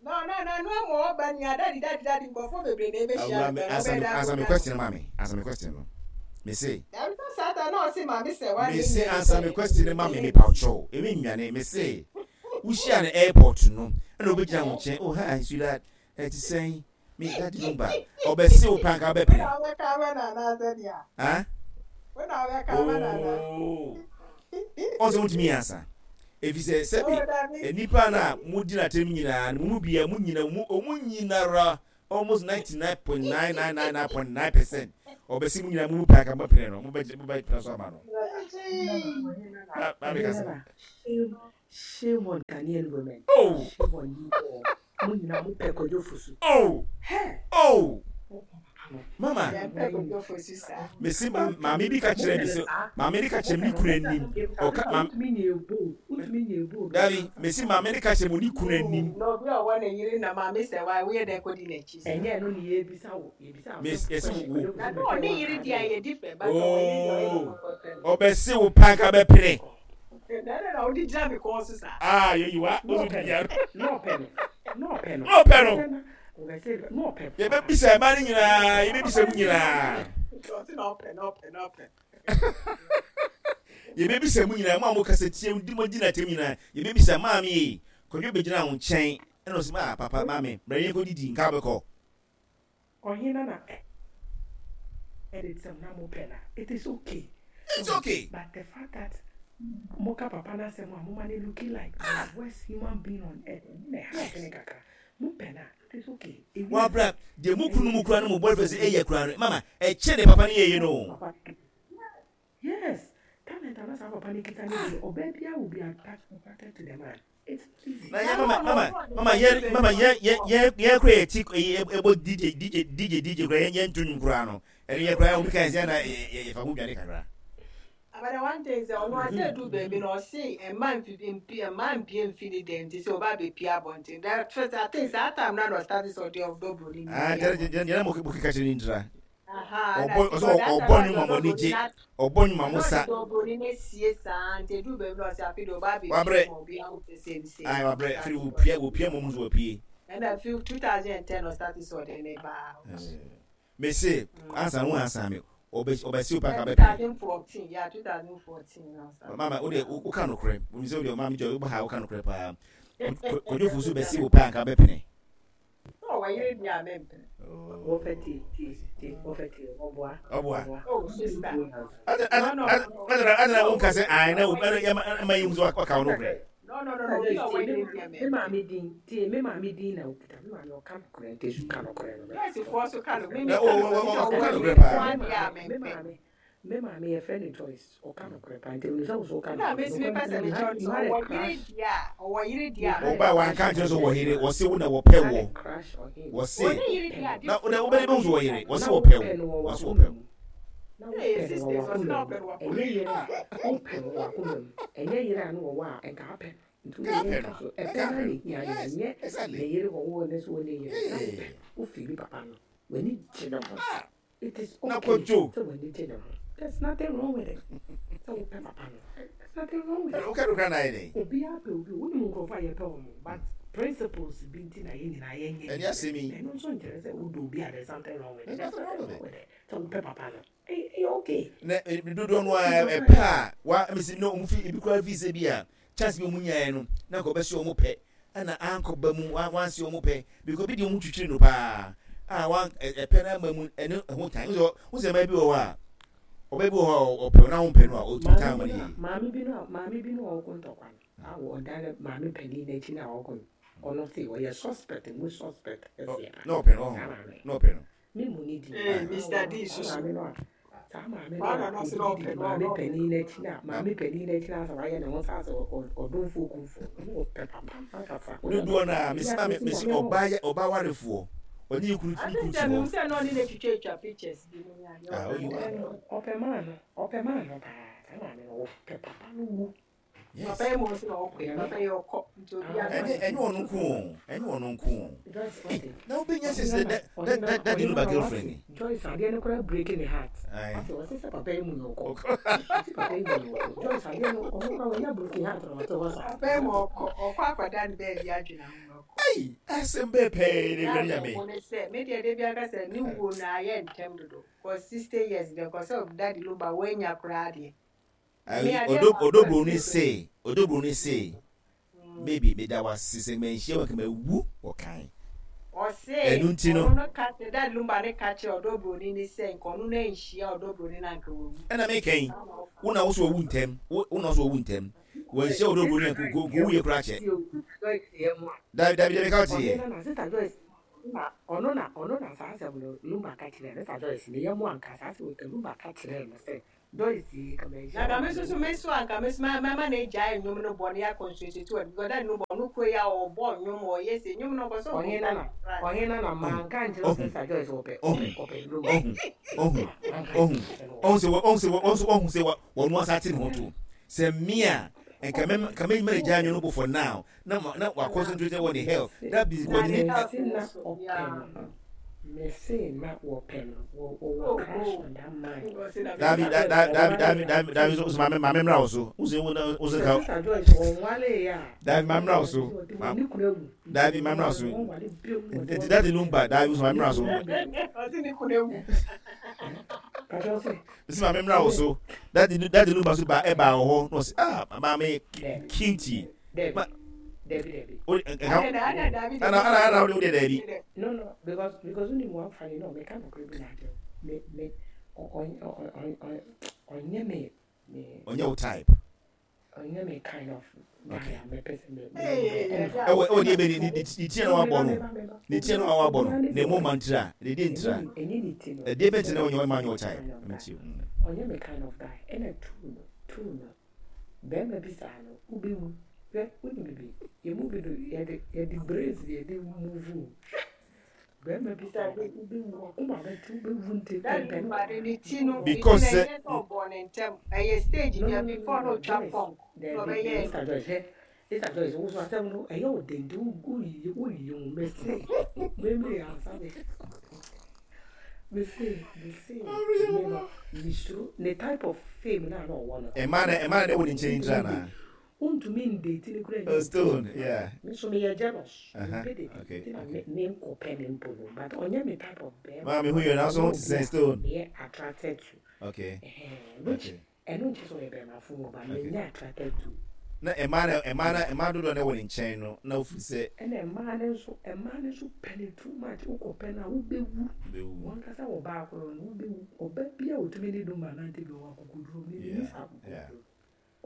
Speaker 1: No no no no mu ɔba nia dadi dadi dadi nkɔfo bebree na ebehyia
Speaker 3: Awura
Speaker 1: no
Speaker 3: me
Speaker 1: pɛ
Speaker 3: answer
Speaker 1: ɔbɛ
Speaker 3: me
Speaker 1: da
Speaker 3: answer me
Speaker 1: akɔda.
Speaker 3: question ma me answer me question no. Me se
Speaker 1: Dabi sɛ sata na ɔsi maame sɛ wa
Speaker 3: me
Speaker 1: ne
Speaker 3: se
Speaker 1: nyɛ
Speaker 3: answer me
Speaker 1: sɛ
Speaker 3: question no ma me me pa kyɛw. Emi nwane me se wohyia no airport no ɛna obegyina wo nkyɛn oh hi sweetheart ɛte sɛn me daddy number ɔbɛse wo pa anka
Speaker 1: Wona
Speaker 3: wobɛpene.
Speaker 1: wobɛka ama no anaasɛ deɛ
Speaker 3: Ah?
Speaker 1: wona wobɛka ama no anaa
Speaker 3: Oh. Ɔsɛ wontumi ansa. Efisɛ sɛbi nnipa no a modi n'atɛm nyinaa no, mo mu biara, mo nyina, mo ɔmo nyinara, almost 99.9999.9%, ɔbɛsi mo nyinaa mo mu pɛ anka mobɛpene no, mobɛgye, mobɛpene so ama no. Ma, maame kasa.
Speaker 5: Shame, shame on Ghanaian women.
Speaker 3: Oh!
Speaker 5: Shame on you all. Mo nyinaa mo pɛ Kwadwo Fosu.
Speaker 3: Oh!
Speaker 5: Hey!
Speaker 3: Oh! Mama, mesi ma maame bi ka kyerɛ mi sɛ maame ne ka kyerɛ mi ne kunu anim ɔka maame dabi mesi maame ne ka kyerɛ mi ne kunu anim.
Speaker 1: Na obi a ɔwɔ ne yere na maame sɛ wa woyɛ dɛ kɔdi n'akyi saa.
Speaker 5: Ɛnyɛ ɛno ne yɛbisa wo yɛbisa wo
Speaker 3: Mes yɛsi wo.
Speaker 1: Na na ɔne yere deɛ yɛ different but ɔwɔ yere deɛ ɔyɛ
Speaker 3: Oh ɔbɛsi wo panka bɛpene.
Speaker 1: Na ɛdɛ na wode gyina me kɔn so saa.
Speaker 3: Ah yɛyi wa osu di bia.
Speaker 5: Na ɔpɛ no na ɔpɛ no
Speaker 3: na ɔpɛ no. Yɛbɛbisa mmaa no nyinaa, yɛbɛbisa mu nyinaa. Yɛbɛbisa mu nyinaa, mo a mokasa tia di mo di n'atɛm nyinaa, yɛbɛbisa maame yi, Kwadwo bɛgyina wo nkyɛn, ɛna ɔsɛ maa papa maame, brɛ yɛn kɔdidi, nka wobɛkɔ.
Speaker 5: Ɔhena na edit sɛm na mo pɛ na it is okay.
Speaker 3: It's okay.
Speaker 5: But the fact that mo ka papa na asɛm a mo ma ne looking like the worst human being on earth ɛno na ɛha adwene kakra. Mo pɛ na it is okay.
Speaker 3: Wabra deɛ mo kunu mu kura no mo boyfriend sɛ ɛyɛ kura no mama ɛkyɛ deɛ papa no yɛyɛ no.
Speaker 5: Yes, talent a na saa papa no kita no deɛ ɔbaa biara will be attracted to the man. It's not easy.
Speaker 3: Na yɛ mama mama mama yɛ mama yɛ yɛ yɛ yɛ kura yɛ ti ɛbɔ DJ DJ DJ DJ kura yɛ yɛ ntu nwom kura no ɛno yɛ kura obi kan sɛ na yɛ yɛ fa ho dwane kakra.
Speaker 1: But the one thing sɛ ɔno ase edu baabi na ɔse mma nfi mpi mma mpie nfi ne dɛm nti sɛ ɔba abɛpie abɔnten that first I think saa time na na ɔstart sɛ ɔde ɔdɔ broni no
Speaker 3: Ah,
Speaker 1: pie
Speaker 3: gyere
Speaker 1: abɔnten.
Speaker 3: gyere gyere mo mo keka kyerɛ ne ntira.
Speaker 1: Aha, na
Speaker 3: Ɔbɔ ɔsɛ
Speaker 1: because that
Speaker 3: ɔbɔ
Speaker 1: time na
Speaker 3: nnwom ma
Speaker 1: ɔde
Speaker 3: mo
Speaker 1: ɔdɔ
Speaker 3: ani
Speaker 1: broni
Speaker 3: gye
Speaker 1: na
Speaker 3: ɔbɔ nnwom ma
Speaker 1: na
Speaker 3: mo
Speaker 1: ɔde
Speaker 3: sa.
Speaker 1: ɔdɔ broni no asie saa nti edu baabi na ɔse afei deɛ ɔba abɛpie
Speaker 3: Wabrɛ.
Speaker 1: ma obi ahu sɛ sei ne sei
Speaker 3: Ayi
Speaker 1: na
Speaker 3: wabrɛ
Speaker 1: ɔstart
Speaker 3: afei
Speaker 1: sɛ ɔde
Speaker 3: wopie wopie mo mo nso wapie.
Speaker 1: ɛna fi 2010 ɔstart sɛ ɔde ne ba out.
Speaker 3: Mese ansa wo ansa me ɔbɛsi wo paka bɛpɛ.
Speaker 1: 2014 yeah 2014 na ɔstart.
Speaker 3: Mama wo de wo ka nokorɛ wo sɛ wo de maame jɔ wo ha wo ka nokorɛ paa Kwadwo Fosu bɛsi wo paa nka bɛpene.
Speaker 1: Sɛ ɔwɔ yere deɛ a mempene.
Speaker 5: Wɔfɛ tie tie tie wɔfɛ tie ɔboa
Speaker 3: ɔboa.
Speaker 1: Oh sister.
Speaker 3: Adana adana wo nka sɛ ae na wo ɛma yi hu sɛ waka wo nokorɛ.
Speaker 1: No no no no obi a ɔwɔ yere deɛ
Speaker 5: mempene. Me maame din tie me maame din na okita me maame ɔka nokorɛ nti su ka nokorɛ no.
Speaker 1: Joyce foɔ so ka no me me
Speaker 3: Na
Speaker 1: ka nokorɛ nti
Speaker 3: ɔka
Speaker 1: ɔwɔ
Speaker 3: nokorɛ
Speaker 1: yere
Speaker 3: paa.
Speaker 1: nko ara deɛ a
Speaker 5: Me
Speaker 1: mempɛ.
Speaker 5: maame me maame yɛfrɛ no Joyce ɔka nokorɛ paa nti menim sɛ wo so woka
Speaker 1: Ɛna
Speaker 5: nokorɛ
Speaker 1: me nso mepɛ
Speaker 5: nokorɛ
Speaker 1: sɛ
Speaker 5: nti you
Speaker 1: mekyerɛ
Speaker 5: had
Speaker 1: no
Speaker 5: you
Speaker 1: sɛ
Speaker 5: had a
Speaker 1: ɔwɔ yere
Speaker 5: crush
Speaker 1: deɛ a ɔwɔ yere deɛ
Speaker 5: you
Speaker 1: a
Speaker 5: had a
Speaker 3: Ɔbaa
Speaker 1: mempɛ.
Speaker 3: wanka
Speaker 5: crush on
Speaker 3: nkyerɛ sɛ
Speaker 5: him
Speaker 3: ɔwɔ yere wɔse wo na
Speaker 5: you
Speaker 3: wɔpɛ
Speaker 5: had a
Speaker 3: wɔ
Speaker 5: crush on him
Speaker 3: wɔse
Speaker 1: Ɔne yere deɛ a
Speaker 3: na
Speaker 1: different
Speaker 3: wobɛde
Speaker 1: ɔwɔ
Speaker 3: bɛhu sɛ
Speaker 1: yere
Speaker 3: ɔwɔ
Speaker 1: deɛ
Speaker 3: yere
Speaker 1: a
Speaker 3: wɔse
Speaker 5: na
Speaker 3: wɔpɛ
Speaker 5: wopɛ no
Speaker 3: wo
Speaker 5: wɔ
Speaker 3: wɔse
Speaker 5: w'akoma
Speaker 3: wɔpɛ wo.
Speaker 5: mu na
Speaker 1: Hey
Speaker 5: wopɛ no wɔ
Speaker 1: sisters ɔse
Speaker 5: w'akoma
Speaker 1: na
Speaker 5: mu
Speaker 1: ɔpɛ no wɔ
Speaker 5: ɛnyɛ yere a wopɛ no wɔ w'akoma mu ɛnyɛ yere a na wɔwɔ a ɛnka apɛ no nti
Speaker 3: Nka
Speaker 5: wode
Speaker 3: apɛ
Speaker 5: yɛnka
Speaker 3: no
Speaker 5: so
Speaker 3: nka
Speaker 5: ɛpɛ no
Speaker 3: apɛ
Speaker 5: na
Speaker 3: no
Speaker 5: ɛhia yɛ
Speaker 3: yes
Speaker 5: ɛnyɛ
Speaker 3: exactly
Speaker 5: ne yere wɔwɔ ne so wɔ ne yere na wopɛ
Speaker 3: yeah
Speaker 5: wofili papa no w'ani gye ne ho
Speaker 3: ah
Speaker 5: it is
Speaker 3: na
Speaker 5: okay
Speaker 3: kwadwo
Speaker 5: sɛ w'ani gye ne ho there's nothing wrong with it sɛ wopɛ papa no there's nothing wrong with it
Speaker 3: woka no kora na ayɛ dɛn
Speaker 5: obiara pɛ obi wonim nkurɔfoɔ a yɛpɛ wɔn but principles bi nti na yɛn nyinaa yɛnyɛ
Speaker 3: ɛne asɛm yi
Speaker 5: na ɛno nso nkyerɛ sɛ wodɔ obi a there's something wrong with it
Speaker 3: there's
Speaker 5: there's
Speaker 3: nothing wrong
Speaker 5: nothing
Speaker 3: with
Speaker 5: wrong
Speaker 3: it
Speaker 5: with it sɛ wopɛ papa no ɛyɛ okay
Speaker 3: na dodoɔ no a ɛpɛ a wa mesi na ɔmo fi ebi koraa fi sɛ bi a chance bi ɔmo nyaeɛ no na nka ɔbɛsi ɔmo pɛ ɛna ankɔ ba mu wansi ɔmo pɛ because bi deɛ ɔmo twitwiri no paa a wan ɛpɛ no ama mu ɛne ɛho tan wosɛ wosɛ mmaa bi wɔ hɔ a ɔbaa bi wɔ hɔ a ɔpɛ na ɔmpɛ no a ɔtumi tan ma no yie
Speaker 5: maame bi no a maame bi no a ɔko ntɔkwa no a ɔda ne maame panin n'akyi na ɔko no ɔno se ɔyɛ suspect mu suspect kɛseɛ
Speaker 3: na ɔpɛ no ɔho
Speaker 5: saa maame
Speaker 3: na ɔpɛ no
Speaker 5: me mu ne di
Speaker 1: Ee Mr D
Speaker 5: saa
Speaker 1: soso.
Speaker 5: maame no a saa maame no
Speaker 1: Kwame
Speaker 5: a
Speaker 1: no se na ɔpɛ
Speaker 5: ɔdidi
Speaker 1: no
Speaker 5: maame
Speaker 1: ɔno.
Speaker 5: panin n'akyi na maame panin n'akyi na asɛ wayɛ ne ho sɛ asɛ ɔdomfoɔ kumfoɔ no ɔpɛ papa ankasa
Speaker 3: dodoɔ no a mesi maame mesi ɔbaa yɛ ɔbaa warefoɔ ɔne ne kunu
Speaker 1: I
Speaker 3: ne
Speaker 1: think
Speaker 3: kunu
Speaker 1: sɛ
Speaker 3: te
Speaker 1: mehu
Speaker 3: hɔ
Speaker 1: sɛ na ɔne no atwitwatwa pictures bi mu ne adeɛ
Speaker 3: ah
Speaker 1: ɔpɛ
Speaker 3: oyi wa
Speaker 1: no.
Speaker 5: ɔpɛ maa no ɔpɛ maa no paa saa maame no ɔpɛ papa no wu
Speaker 3: yes
Speaker 1: Papa yi mu nso na ɔkɔ yi papa yi ɔkɔ nti obi
Speaker 5: Ah,
Speaker 1: aka
Speaker 3: ɛnyɛ
Speaker 1: ne
Speaker 3: ɛnyɛ ɔno nko o ɛnyɛ ɔno nko o
Speaker 5: Joyce
Speaker 3: Ei,
Speaker 5: wate
Speaker 3: na wobɛnya sɛ
Speaker 5: ɔhena
Speaker 3: sɛ
Speaker 5: na
Speaker 3: da da
Speaker 5: ɔhena
Speaker 3: da daddy no
Speaker 5: ɔhena
Speaker 3: ba
Speaker 5: na
Speaker 3: girlfriend
Speaker 5: wate
Speaker 3: ni
Speaker 5: Joyce adeɛ no koraa break ne heart
Speaker 3: ae
Speaker 5: wate ɔse sɛ papa yi mu yɛ ɔkɔ
Speaker 3: ɔkɔ
Speaker 5: ɔse papa yi mu yɛ ɔkɔ Joyce adeɛ no ɔno koraa wanya broken heart na ɔte hɔ saa
Speaker 1: Papa yi mu ɔkɔ ɔkɔ akɔda ne baabi adwene ho na ɔkɔ.
Speaker 3: Ei, asɛm bɛɛ pɛɛ ne
Speaker 1: Na
Speaker 3: wura nyame
Speaker 1: awerɛho ne sɛ me deɛ da biara ka sɛ ne wuo no ayɛ ntɛm dodo kɔ 60 years deɛ kɔ sɛ daddy Lumba woanya koraa deɛ. Me
Speaker 3: Ayi,
Speaker 1: adeɛ
Speaker 3: ɔdɔ
Speaker 1: baako
Speaker 3: ɔdɔ
Speaker 1: a
Speaker 3: broni
Speaker 1: ɛfiri
Speaker 3: se ɔdɔ broni se maybe meda wase sɛ manhyia wo anka mawu wɔ kan
Speaker 1: Ɔse
Speaker 3: ɛno nti no
Speaker 1: ɔno no ka kyerɛ Daddy Lumba ne ka kyerɛ ɔdɔ broni ne sɛ nka ɔno no anhyia ɔdɔ broni no anka wawu.
Speaker 3: ɛna meka yi wo na wo so wawu ntɛm wo wo na wo so wawu ntɛm. Wɔnhyia Odo Broni a nka owuiɛ koraa kyɛ. Dabi dabi dabi ka wote yɛ.
Speaker 5: Ɔhene na Sister Joyce na ɔno na ɔno na saa asɛm no Lumba ka kyerɛɛ no. Sister Joyce ne yam anka saa asɛm yi Lumba ka kyerɛɛ no sɛ Joyce yi ka manhyia
Speaker 1: Na nka me nso so me nso anka me nso mɛma no agyae nnwom no bɔ na yɛ concentrate wɔ because that no bɔ ɔno kuro yi a ɔbɔ nnwom ɔyɛ se nnwom no ɔpɛ sɛ ɔbɔ
Speaker 5: Ɔhene nana ɔhene nana manka nkyerɛ wo Sister Joyce ɔpɛ ɔpɛ ɔpɛ Lumba.
Speaker 3: Ɔhu ɔhu ɔhu ɔhu sɛ ɔhu sɛ ɔhu sɛ ɔhu sɛ wɔn asa ate ne ho to sɛ mmea nka mɛ nka mɛ mɛ gya nnwom no bɔ for now na ma na wa concentrate wɔ ne health that busy
Speaker 5: kɔ ne. Mese na ɔpɛ no mese na wɔpɛ no wɔwɔ crush on that man.
Speaker 3: Dabi dabi dabi dabi dabi so maame maame mmra wo so wo so wo so ka.
Speaker 5: Sister Joyce wɔn wale yɛ a.
Speaker 3: Dabi maame mmra wo so. Dabi maame mmra wo so. Nti dadi lumba dabi so maame mmra wo so. Mese maame mmra wo so. Dadi dadi lumba so ba ɛba wɔ hɔ na ɔsi ah maame cutie.
Speaker 5: Dabi dabi dabi.
Speaker 3: O nka ana ana ana wo de dabi.
Speaker 5: No no because because ni mu afa ni no me ka no kure bi na akyerɛ me me ɔnyɛ me me.
Speaker 3: Ɔnyɛ wo type.
Speaker 5: Ɔnyɛ me kind of guy a mepɛ sɛ me.
Speaker 3: Ɛwɔ ɛwɔ deɛ bɛ ne ne ti na wabɔ no ne ti na wabɔ no na emu ma ntira ne de ntira ɛdeɛ bɛ ti na ɔnyɛ ɔma nyɛ wo type.
Speaker 5: Ɔnyɛ me kind of guy ɛna tuu no tuu no. Barima bi saa no, wobɛwu. Hwɛ, wonim biribi? Yɛn mu bi do, yɛde, yɛde brains na yɛde move o. Barima bi saa no, wobɛwu, w'akoma bɛte, wobɛwu nti
Speaker 1: Daddy
Speaker 5: ntɛmpɛ no.
Speaker 1: Lumba de ne ti no, ne ti
Speaker 3: Because
Speaker 1: no
Speaker 3: sɛ.
Speaker 1: ɛnyɛ sɛ ɔbɔɔ ne ntɛm, ɛyɛ stage
Speaker 5: No,
Speaker 1: bi
Speaker 5: no,
Speaker 1: a
Speaker 5: no, no,
Speaker 1: before na
Speaker 5: no,
Speaker 1: ɔtwa
Speaker 5: Joyce,
Speaker 1: punk na
Speaker 5: daabi,
Speaker 1: ɔbɛyɛɛ
Speaker 5: Sister Joyce, hwɛ, Sister Joyce, wo so asɛm no, ɛyɛ wo den nti, woyiyi, woyiyi wo mese, meme ansa me. Mese, mese, me no, mesuro, ne type of fame no a na ɔwɔ no.
Speaker 3: Ɛma na ɛma na ɛwɔ ne nkyɛn nti anaa?
Speaker 5: Wontumi ndate no koraa
Speaker 3: Oh, stone, yeah.
Speaker 5: Me nso meyɛ jealous.
Speaker 3: Uh-huh.
Speaker 5: Mempɛ date.
Speaker 3: Okay,
Speaker 5: Nti na
Speaker 3: okay.
Speaker 5: me menkɔpɛ no mpo no, but ɔnyɛ me type of bɛrima.
Speaker 3: Maame hu yɛ nanso ho te sɛ stone.
Speaker 5: Meyɛ attracted to.
Speaker 3: Okay.
Speaker 5: Ɛhɛn, which
Speaker 3: Okay.
Speaker 5: Ɛno nkyerɛ sɛ ɔyɛ bɛrima fo o, but menyɛ attracted to.
Speaker 3: Na mmaa no mmaa no mmaa dodoɔ na ɛwɔ ne nkyɛn no na ofiri sɛ.
Speaker 5: Ɛna mmaa no nso mmaa no nso pɛ no too much wokɔ pɛ no a wobɛwu.
Speaker 3: Wobɛwu.
Speaker 5: Wankasa wɔ baa korɔ no wobɛwu. Ɔbaa bi a ɔtumi ne Dumba nante bi ɔwɔ akokoduro me menni saa akokoduro.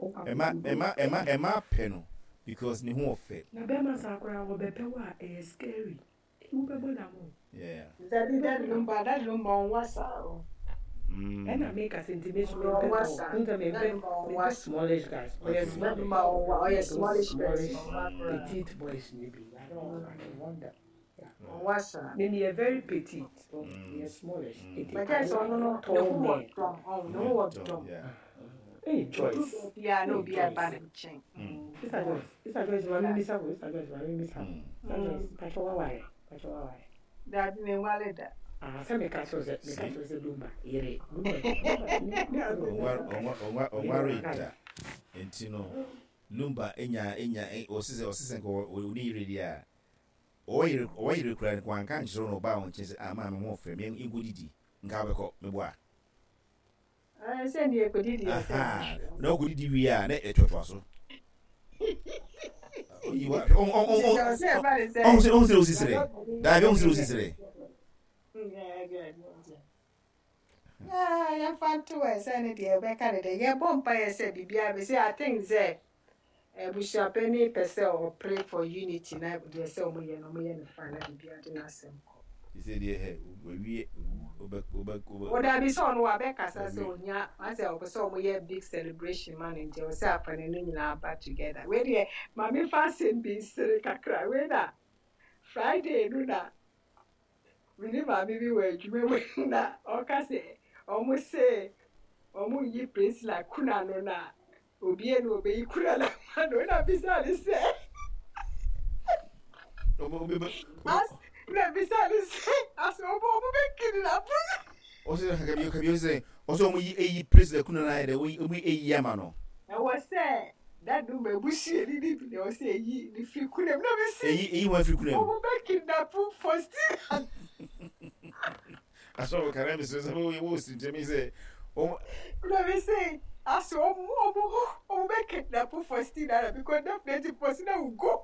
Speaker 5: Ɔwɔ
Speaker 3: Ɛma
Speaker 5: akokoduro.
Speaker 3: ɛma ɛma ɛmaa pɛ no because ne ho ɔfɛ.
Speaker 5: Na bɛrima saa koraa ɔbɛpɛ wo a ɛyɛ scary. Wobɛbɔ dam o.
Speaker 3: Yeah.
Speaker 1: Dabi daddy lumba daddy lumba ɔnwa saa o.
Speaker 5: Ɛna meka sɛ nti me nso mempɛ tall. Wohu sɛ mempɛ mempɛ smallish guys. Ɔyɛ smallish.
Speaker 1: Ɔyɛ smallish
Speaker 5: Those
Speaker 1: person.
Speaker 5: smallish petite boys no bi. I don't I don't want them. Yeah.
Speaker 1: Ɔnwa saa.
Speaker 5: Me meyɛ very petite. So meyɛ smallish. Nti
Speaker 1: But
Speaker 5: I
Speaker 1: kyerɛ sɛ ɔno
Speaker 5: like
Speaker 1: no ne
Speaker 5: tall
Speaker 1: ho wɔ
Speaker 5: men.
Speaker 1: dɔm ɔn ne ho wɔ dɔm.
Speaker 3: Yeah.
Speaker 5: Hey
Speaker 1: Odu
Speaker 5: Joyce.
Speaker 1: baabi a na
Speaker 5: Hey
Speaker 1: obi aba
Speaker 5: Joyce.
Speaker 1: ne nkyɛn.
Speaker 5: Sister Joyce. Sister Joyce ma me bisa wo. Sister Joyce ma me bisa wo. Sister Joyce pakyɛ waware. Pakyɛ waware.
Speaker 1: Dabi menwale da.
Speaker 5: Ah sɛ meka kyerɛ wo sɛ meka kyerɛ wo sɛ Lumba yere Lumba Lumba ne ne kunu
Speaker 3: Ɔnwaree da nti no Lumba nya nya ɔse sɛ ɔse sɛ nka ɔne yere deɛ a ɔwɔ yere ɔwɔ yere koraa nka wanka ankyerɛ wo na ɔbaa wo nkyɛn sɛ ah maame ho ɔfɛ me nkɔdidi nka wobɛkɔ meboa.
Speaker 1: Ɛɛ sɛ deɛ ɛkɔdidi yɛ sɛ.
Speaker 3: Ahaa na wokɔdidi wie a na ɛtoatoa so. Oyi wa ɔn ɔn ɔn ɔn sɛ ɔn sɛ osi srɛ daabi ɔn sɛ osi srɛ.
Speaker 1: Yɛmfa nto ɛ sɛ ne deɛ ɛbɛka ne deɛ yɛbɔ mpa yɛ sɛ biribiara bɛsi I think sɛ abusuapɛni pɛ sɛ ɔpray for unity na deɛ sɛ ɔmo yɛ no ɔmo yɛ no fine na biribiara de n'asɛm kɔ.
Speaker 3: Sɛ deɛ hɛ wawie wobɛ wobɛ wobɛ.
Speaker 1: O dabi sɛ ɔno wabɛkasa sɛ ohia asɛ ɔpɛ sɛ ɔmo yɛ big celebration ma no nti ɛwɔ sɛ afane no nyinaa ba together. Wei deɛ ma me fa asɛm bi nsere kakra wei na Friday no na me ne maame bi wɔ adwuma mu na ɔka sɛ ɔmo se ɔmo nyi Priscilla kuna no na obie na obeyi kuna no ama no na bisa ne sɛ as na bisa ne sɛ as ɔmo ɔmo bɛ kidnap no.
Speaker 3: Ɔsɛ kabi kabi ɔsɛ ɔsɛ ɔmo yi eyi Priscilla kuna no ayɛ dɛ ɔmo yi eyi ama no.
Speaker 1: Ɛwɔ sɛ dadu ma ebusuani no bi na ɛwɔ sɛ eyi ne firi kuna mu na mi si.
Speaker 3: Eyi eyi wɔn firi kuna mu.
Speaker 1: Ɔmo bɛ kidnap Faustina.
Speaker 3: Asɔ kara mi sɛ sɛ wo wo si ntɛm yi sɛ ɔmo.
Speaker 1: Na mi se asɛ ɔmo ɔmo ɔmo bɛ kidnap Faustina na because definitely Faustina will go.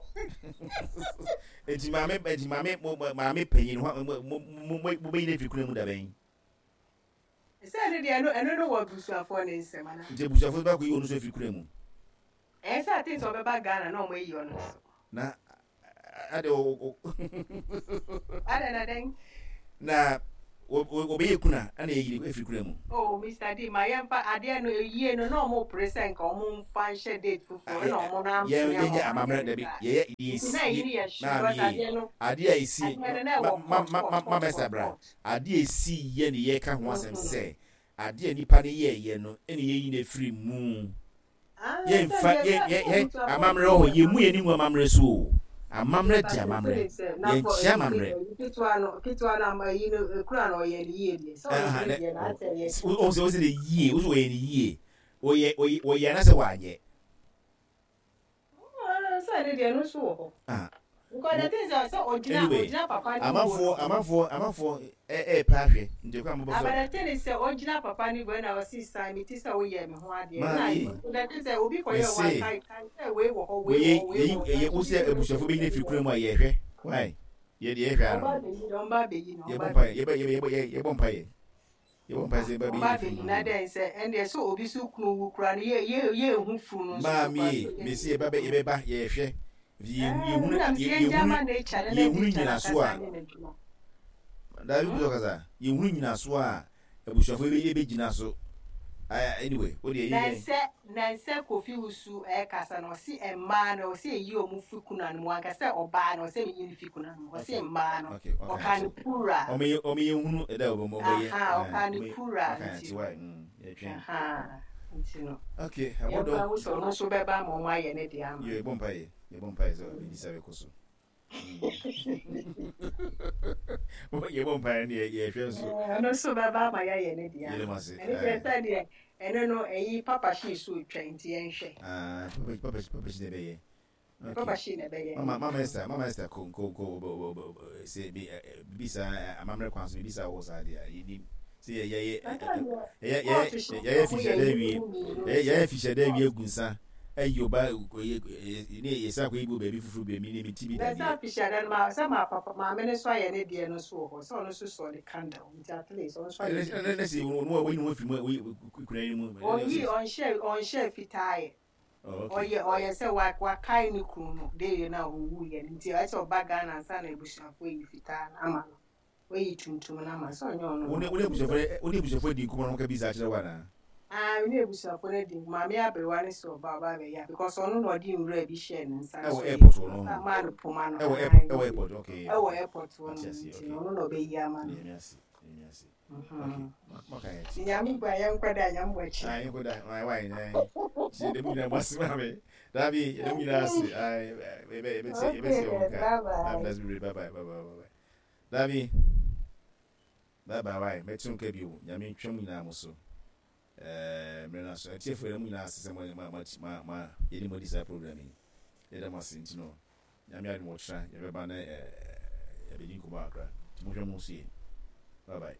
Speaker 3: Eti maame eti maame mo maame panyin ho mo mo mo mo bɛyi ne firi kuna mu da bɛn.
Speaker 1: Sɛ ɛno deɛ ɛno ɛno no wɔ abusuafoɔ ne nsɛm ana.
Speaker 3: Nti abusuafoɔ bɛ akɔ yi wɔn nso afiri kuna mu.
Speaker 1: Ɛyɛ sɛ ate sɛ ɔbɛba Ghana na ɔmo ayi ɔno nso.
Speaker 3: Na ade o.
Speaker 1: Adɛn na dɛn?
Speaker 3: Na wɔbɛyɛ kuna ɛna yɛyi no afiri kuna mu.
Speaker 1: Oh Mister D ma yɛmfa adeɛ no yie no na ɔmo pere sɛ nka ɔmo mfa nhyɛ date foforɔ ɛna ɔmo no
Speaker 3: ampene ama ɔmo anyɛ no saa. Nti
Speaker 1: na ɛyi no yɛ hye because adeɛ no
Speaker 3: adeɛ a ɛsi
Speaker 1: adeɛ no na ɛwɔ court court
Speaker 3: ma
Speaker 1: court
Speaker 3: mɛsa
Speaker 1: court
Speaker 3: bra
Speaker 1: court.
Speaker 3: adeɛ a ɛsi yɛ ne yɛka ho asɛm sɛ adeɛ a nipa no yɛɛyɛ no ɛna yɛyi no afiri mu. Yɛnfa yɛ yɛ yɛ amammerɛ wɔ hɔ yɛmmu yɛn ani ngu amammerɛ so o amammerɛ de amammerɛ yɛnkyea amammerɛ. Ɔsɛ ɔsɛ ne yie ɔsɛ ɔyɛ ne yie ɔyɛ ɔyɛ ɔyɛ anasɛ wanyɛ.
Speaker 1: Sɛ ne deɛ no nso wɔ hɔ.
Speaker 3: Ah.
Speaker 1: Because the thing is sɛ ɔgyina
Speaker 3: Anyway,
Speaker 1: ɔgyina papa ne wuo
Speaker 3: amanfoɔ
Speaker 1: no.
Speaker 3: amanfoɔ amanfoɔ ɛɛpɛ ahwɛ nti kwan mo bɔ
Speaker 1: Ah,
Speaker 3: so.
Speaker 1: but the thing is sɛ ɔgyina papa ne wuo na ɔsi san me ti sɛ woyɛ me ho adeɛ.
Speaker 3: Maame
Speaker 1: Na
Speaker 3: yi,
Speaker 1: the thing sɛ obi
Speaker 3: me
Speaker 1: kɔyɛ wo
Speaker 3: se
Speaker 1: aka kan sɛ wei wɔ hɔ wei
Speaker 3: wei
Speaker 1: wɔ hɔ wei
Speaker 3: yɛyi
Speaker 1: wɔ hɔ.
Speaker 3: ɛyɛ wo sɛ abusuafoɔ bɛyi no afiri kura mu a yɛhwɛ why yɛ deɛ yɛhwɛ
Speaker 1: Ɔba
Speaker 3: ano.
Speaker 1: abɛyi no ɔmba abɛyi no
Speaker 3: Yɛbɔ
Speaker 1: ɔmba
Speaker 3: mpaeɛ
Speaker 1: abɛyi.
Speaker 3: yɛbɛ yɛbɛ yɛbɔ yɛbɔ mpaeɛ yɛbɔ mpaeɛ sɛ yɛba
Speaker 1: Ɔmba
Speaker 3: bɛyi no afiri
Speaker 1: abɛyi
Speaker 3: mu.
Speaker 1: na dɛn sɛ ɛndeɛ sɛ obi so kunu wu koraa no yɛ yɛ yɛnhu funu no nso so
Speaker 3: Maame
Speaker 1: koraa
Speaker 3: e,
Speaker 1: sɛ
Speaker 3: mese
Speaker 1: yɛnhu
Speaker 3: yɛba bɛ
Speaker 1: funu.
Speaker 3: yɛbɛba yɛhwɛ
Speaker 1: Ɛɛ na mese yɛngya ma nature no na
Speaker 3: yɛhunu
Speaker 1: nature no
Speaker 3: nyinasoɔ
Speaker 1: ankasa
Speaker 3: a
Speaker 1: nyɛ n'adwuma.
Speaker 3: Dabi bi ɔkasa yɛhunu nyinasoɔ a abusuafoɔ yi bɛgyina so anyway wo deɛ yɛ
Speaker 1: Nansɛ nansɛ Kofi Wusu ɛkasa no ɔse mmaa no ɔse ɛyi ɔmo fi kuna no mu wanka sɛ ɔbaa no ɔsɛ meyi no fi kuna no mu ɔse mmaa no ɔkaa no plural.
Speaker 3: Ɔmo yɛ ɔmo yɛ hunu ɛda ɔmo ɔmo yɛ
Speaker 1: Ahaa ɔkaa no plural nti no
Speaker 3: yɛtwɛn.
Speaker 1: Ahaa nti no
Speaker 3: Okay
Speaker 1: yɛmfa
Speaker 3: abɔdɔ.
Speaker 1: nhu sɛ ɔno nso bɛba ama ɔmo ayɛ ne deɛ ama no.
Speaker 3: Yɛ bɔ mpaeɛ yɛbɔ mpaeɛ sɛ ɔbɛdi sa bɛkɔ so. Yɛbɔ mpaeɛ no yɛhwɛ nso.
Speaker 1: Ɛno nso bɛba ama yɛayɛ ne deɛ
Speaker 3: Yɛde mo ase.
Speaker 1: Ɛno deɛ sɛ deɛ ɛno no ɛyi papa hyii so retwa nti yɛnhwɛ.
Speaker 3: Ah, papa papa papa hyi na ɛbɛyɛ. Okay.
Speaker 1: Papa hyi na ɛbɛyɛ.
Speaker 3: Mama mama Esther mama Esther ko ko ko sɛ bi bibi saa amammerɛ kwan so bibi saa wɔ saa deɛ yɛnim sɛ yɛ yɛ yɛ yɛ yɛ yɛ fihyɛ dɛ wie yɛ yɛ fihyɛ dɛ wie gu nsa ayi ɔba ne yɛsan akɔyi bi wɔ baabi foforɔ bi ne meti bi
Speaker 1: Na
Speaker 3: dadeɛ.
Speaker 1: sɛ afehyia da no ma sɛ ma papa maame no nso ayɛ ne deɛ no nso wɔ hɔ sɛ ɔno nso sɔ ne candle nti at least ɔno nso ayɛ
Speaker 3: ne
Speaker 1: biribi.
Speaker 3: ne sɛ ɔno a wɔyi ne ho afiri mu wɔyi kura yi mu.
Speaker 1: Ɔyi ɔnhyɛ ɔnhyɛ fitaa yɛ.
Speaker 3: Oh, okay.
Speaker 1: Ɔyɛ ɔyɛ sɛ wa wakae ne kunu no de no a ɔwu yɛ no nti ɛsɛ ɔba Ghana ansa na abusuafoɔ yi fitaa no ama no. Wayi tuntum no ama sɛ ɔnyɛ ɔno.
Speaker 3: Wo ne wo ne abusuafoɔ wo ne abusuafoɔ di nkɔmmɔ na wɔka bi saa kyerɛ wo anaa?
Speaker 1: Ah, me ne abusuafoɔ no adi nkɔmmɔ. Maame aberewa no sɛ ɔba ɔba abɛyɛ a because ɔno na ɔde nwura bi hyɛɛ ne nsa
Speaker 3: Ɛwɔ
Speaker 1: so
Speaker 3: airport hɔ no.
Speaker 1: Ɔsan maa no poma no.
Speaker 3: Ɛwɔ airport ɛwɔ airport okay.
Speaker 1: Ɛwɔ airport hɔ no
Speaker 3: Ate aseɛ
Speaker 1: nti
Speaker 3: okay.
Speaker 1: no ɔno na ɔbɛyi ama no.
Speaker 3: Nyame ase Nyame ase. Okay. Maka yɛ ti.
Speaker 1: Nyame bua yɛnkɔ da Nyame bɔ akyi.
Speaker 3: Ah yɛnkɔ da. Why why nai. Ti yɛda mu nyinaa mo ase maame. Dabi yɛda mu nyinaa ase. Ai yɛbɛ yɛbɛtie yɛbɛtie wɔn ka.
Speaker 1: Bye bye.
Speaker 3: Bye bye bye bye bye bye. Dabi bye bye wai mɛte wo nka bio Nyame ntwa mo nyinaa mo so eh, mmerɛ no aso Atiefoɔ yɛda mo nyinaa ase sɛ mo ma ma ma ma yɛne mo adi saa program yi yɛda mo ase nti no Nyame adom ɔkyena yɛbɛba na eh, yɛabɛdi nkɔmmɔ kakra nti monhwɛ mo ho so yie bye bye.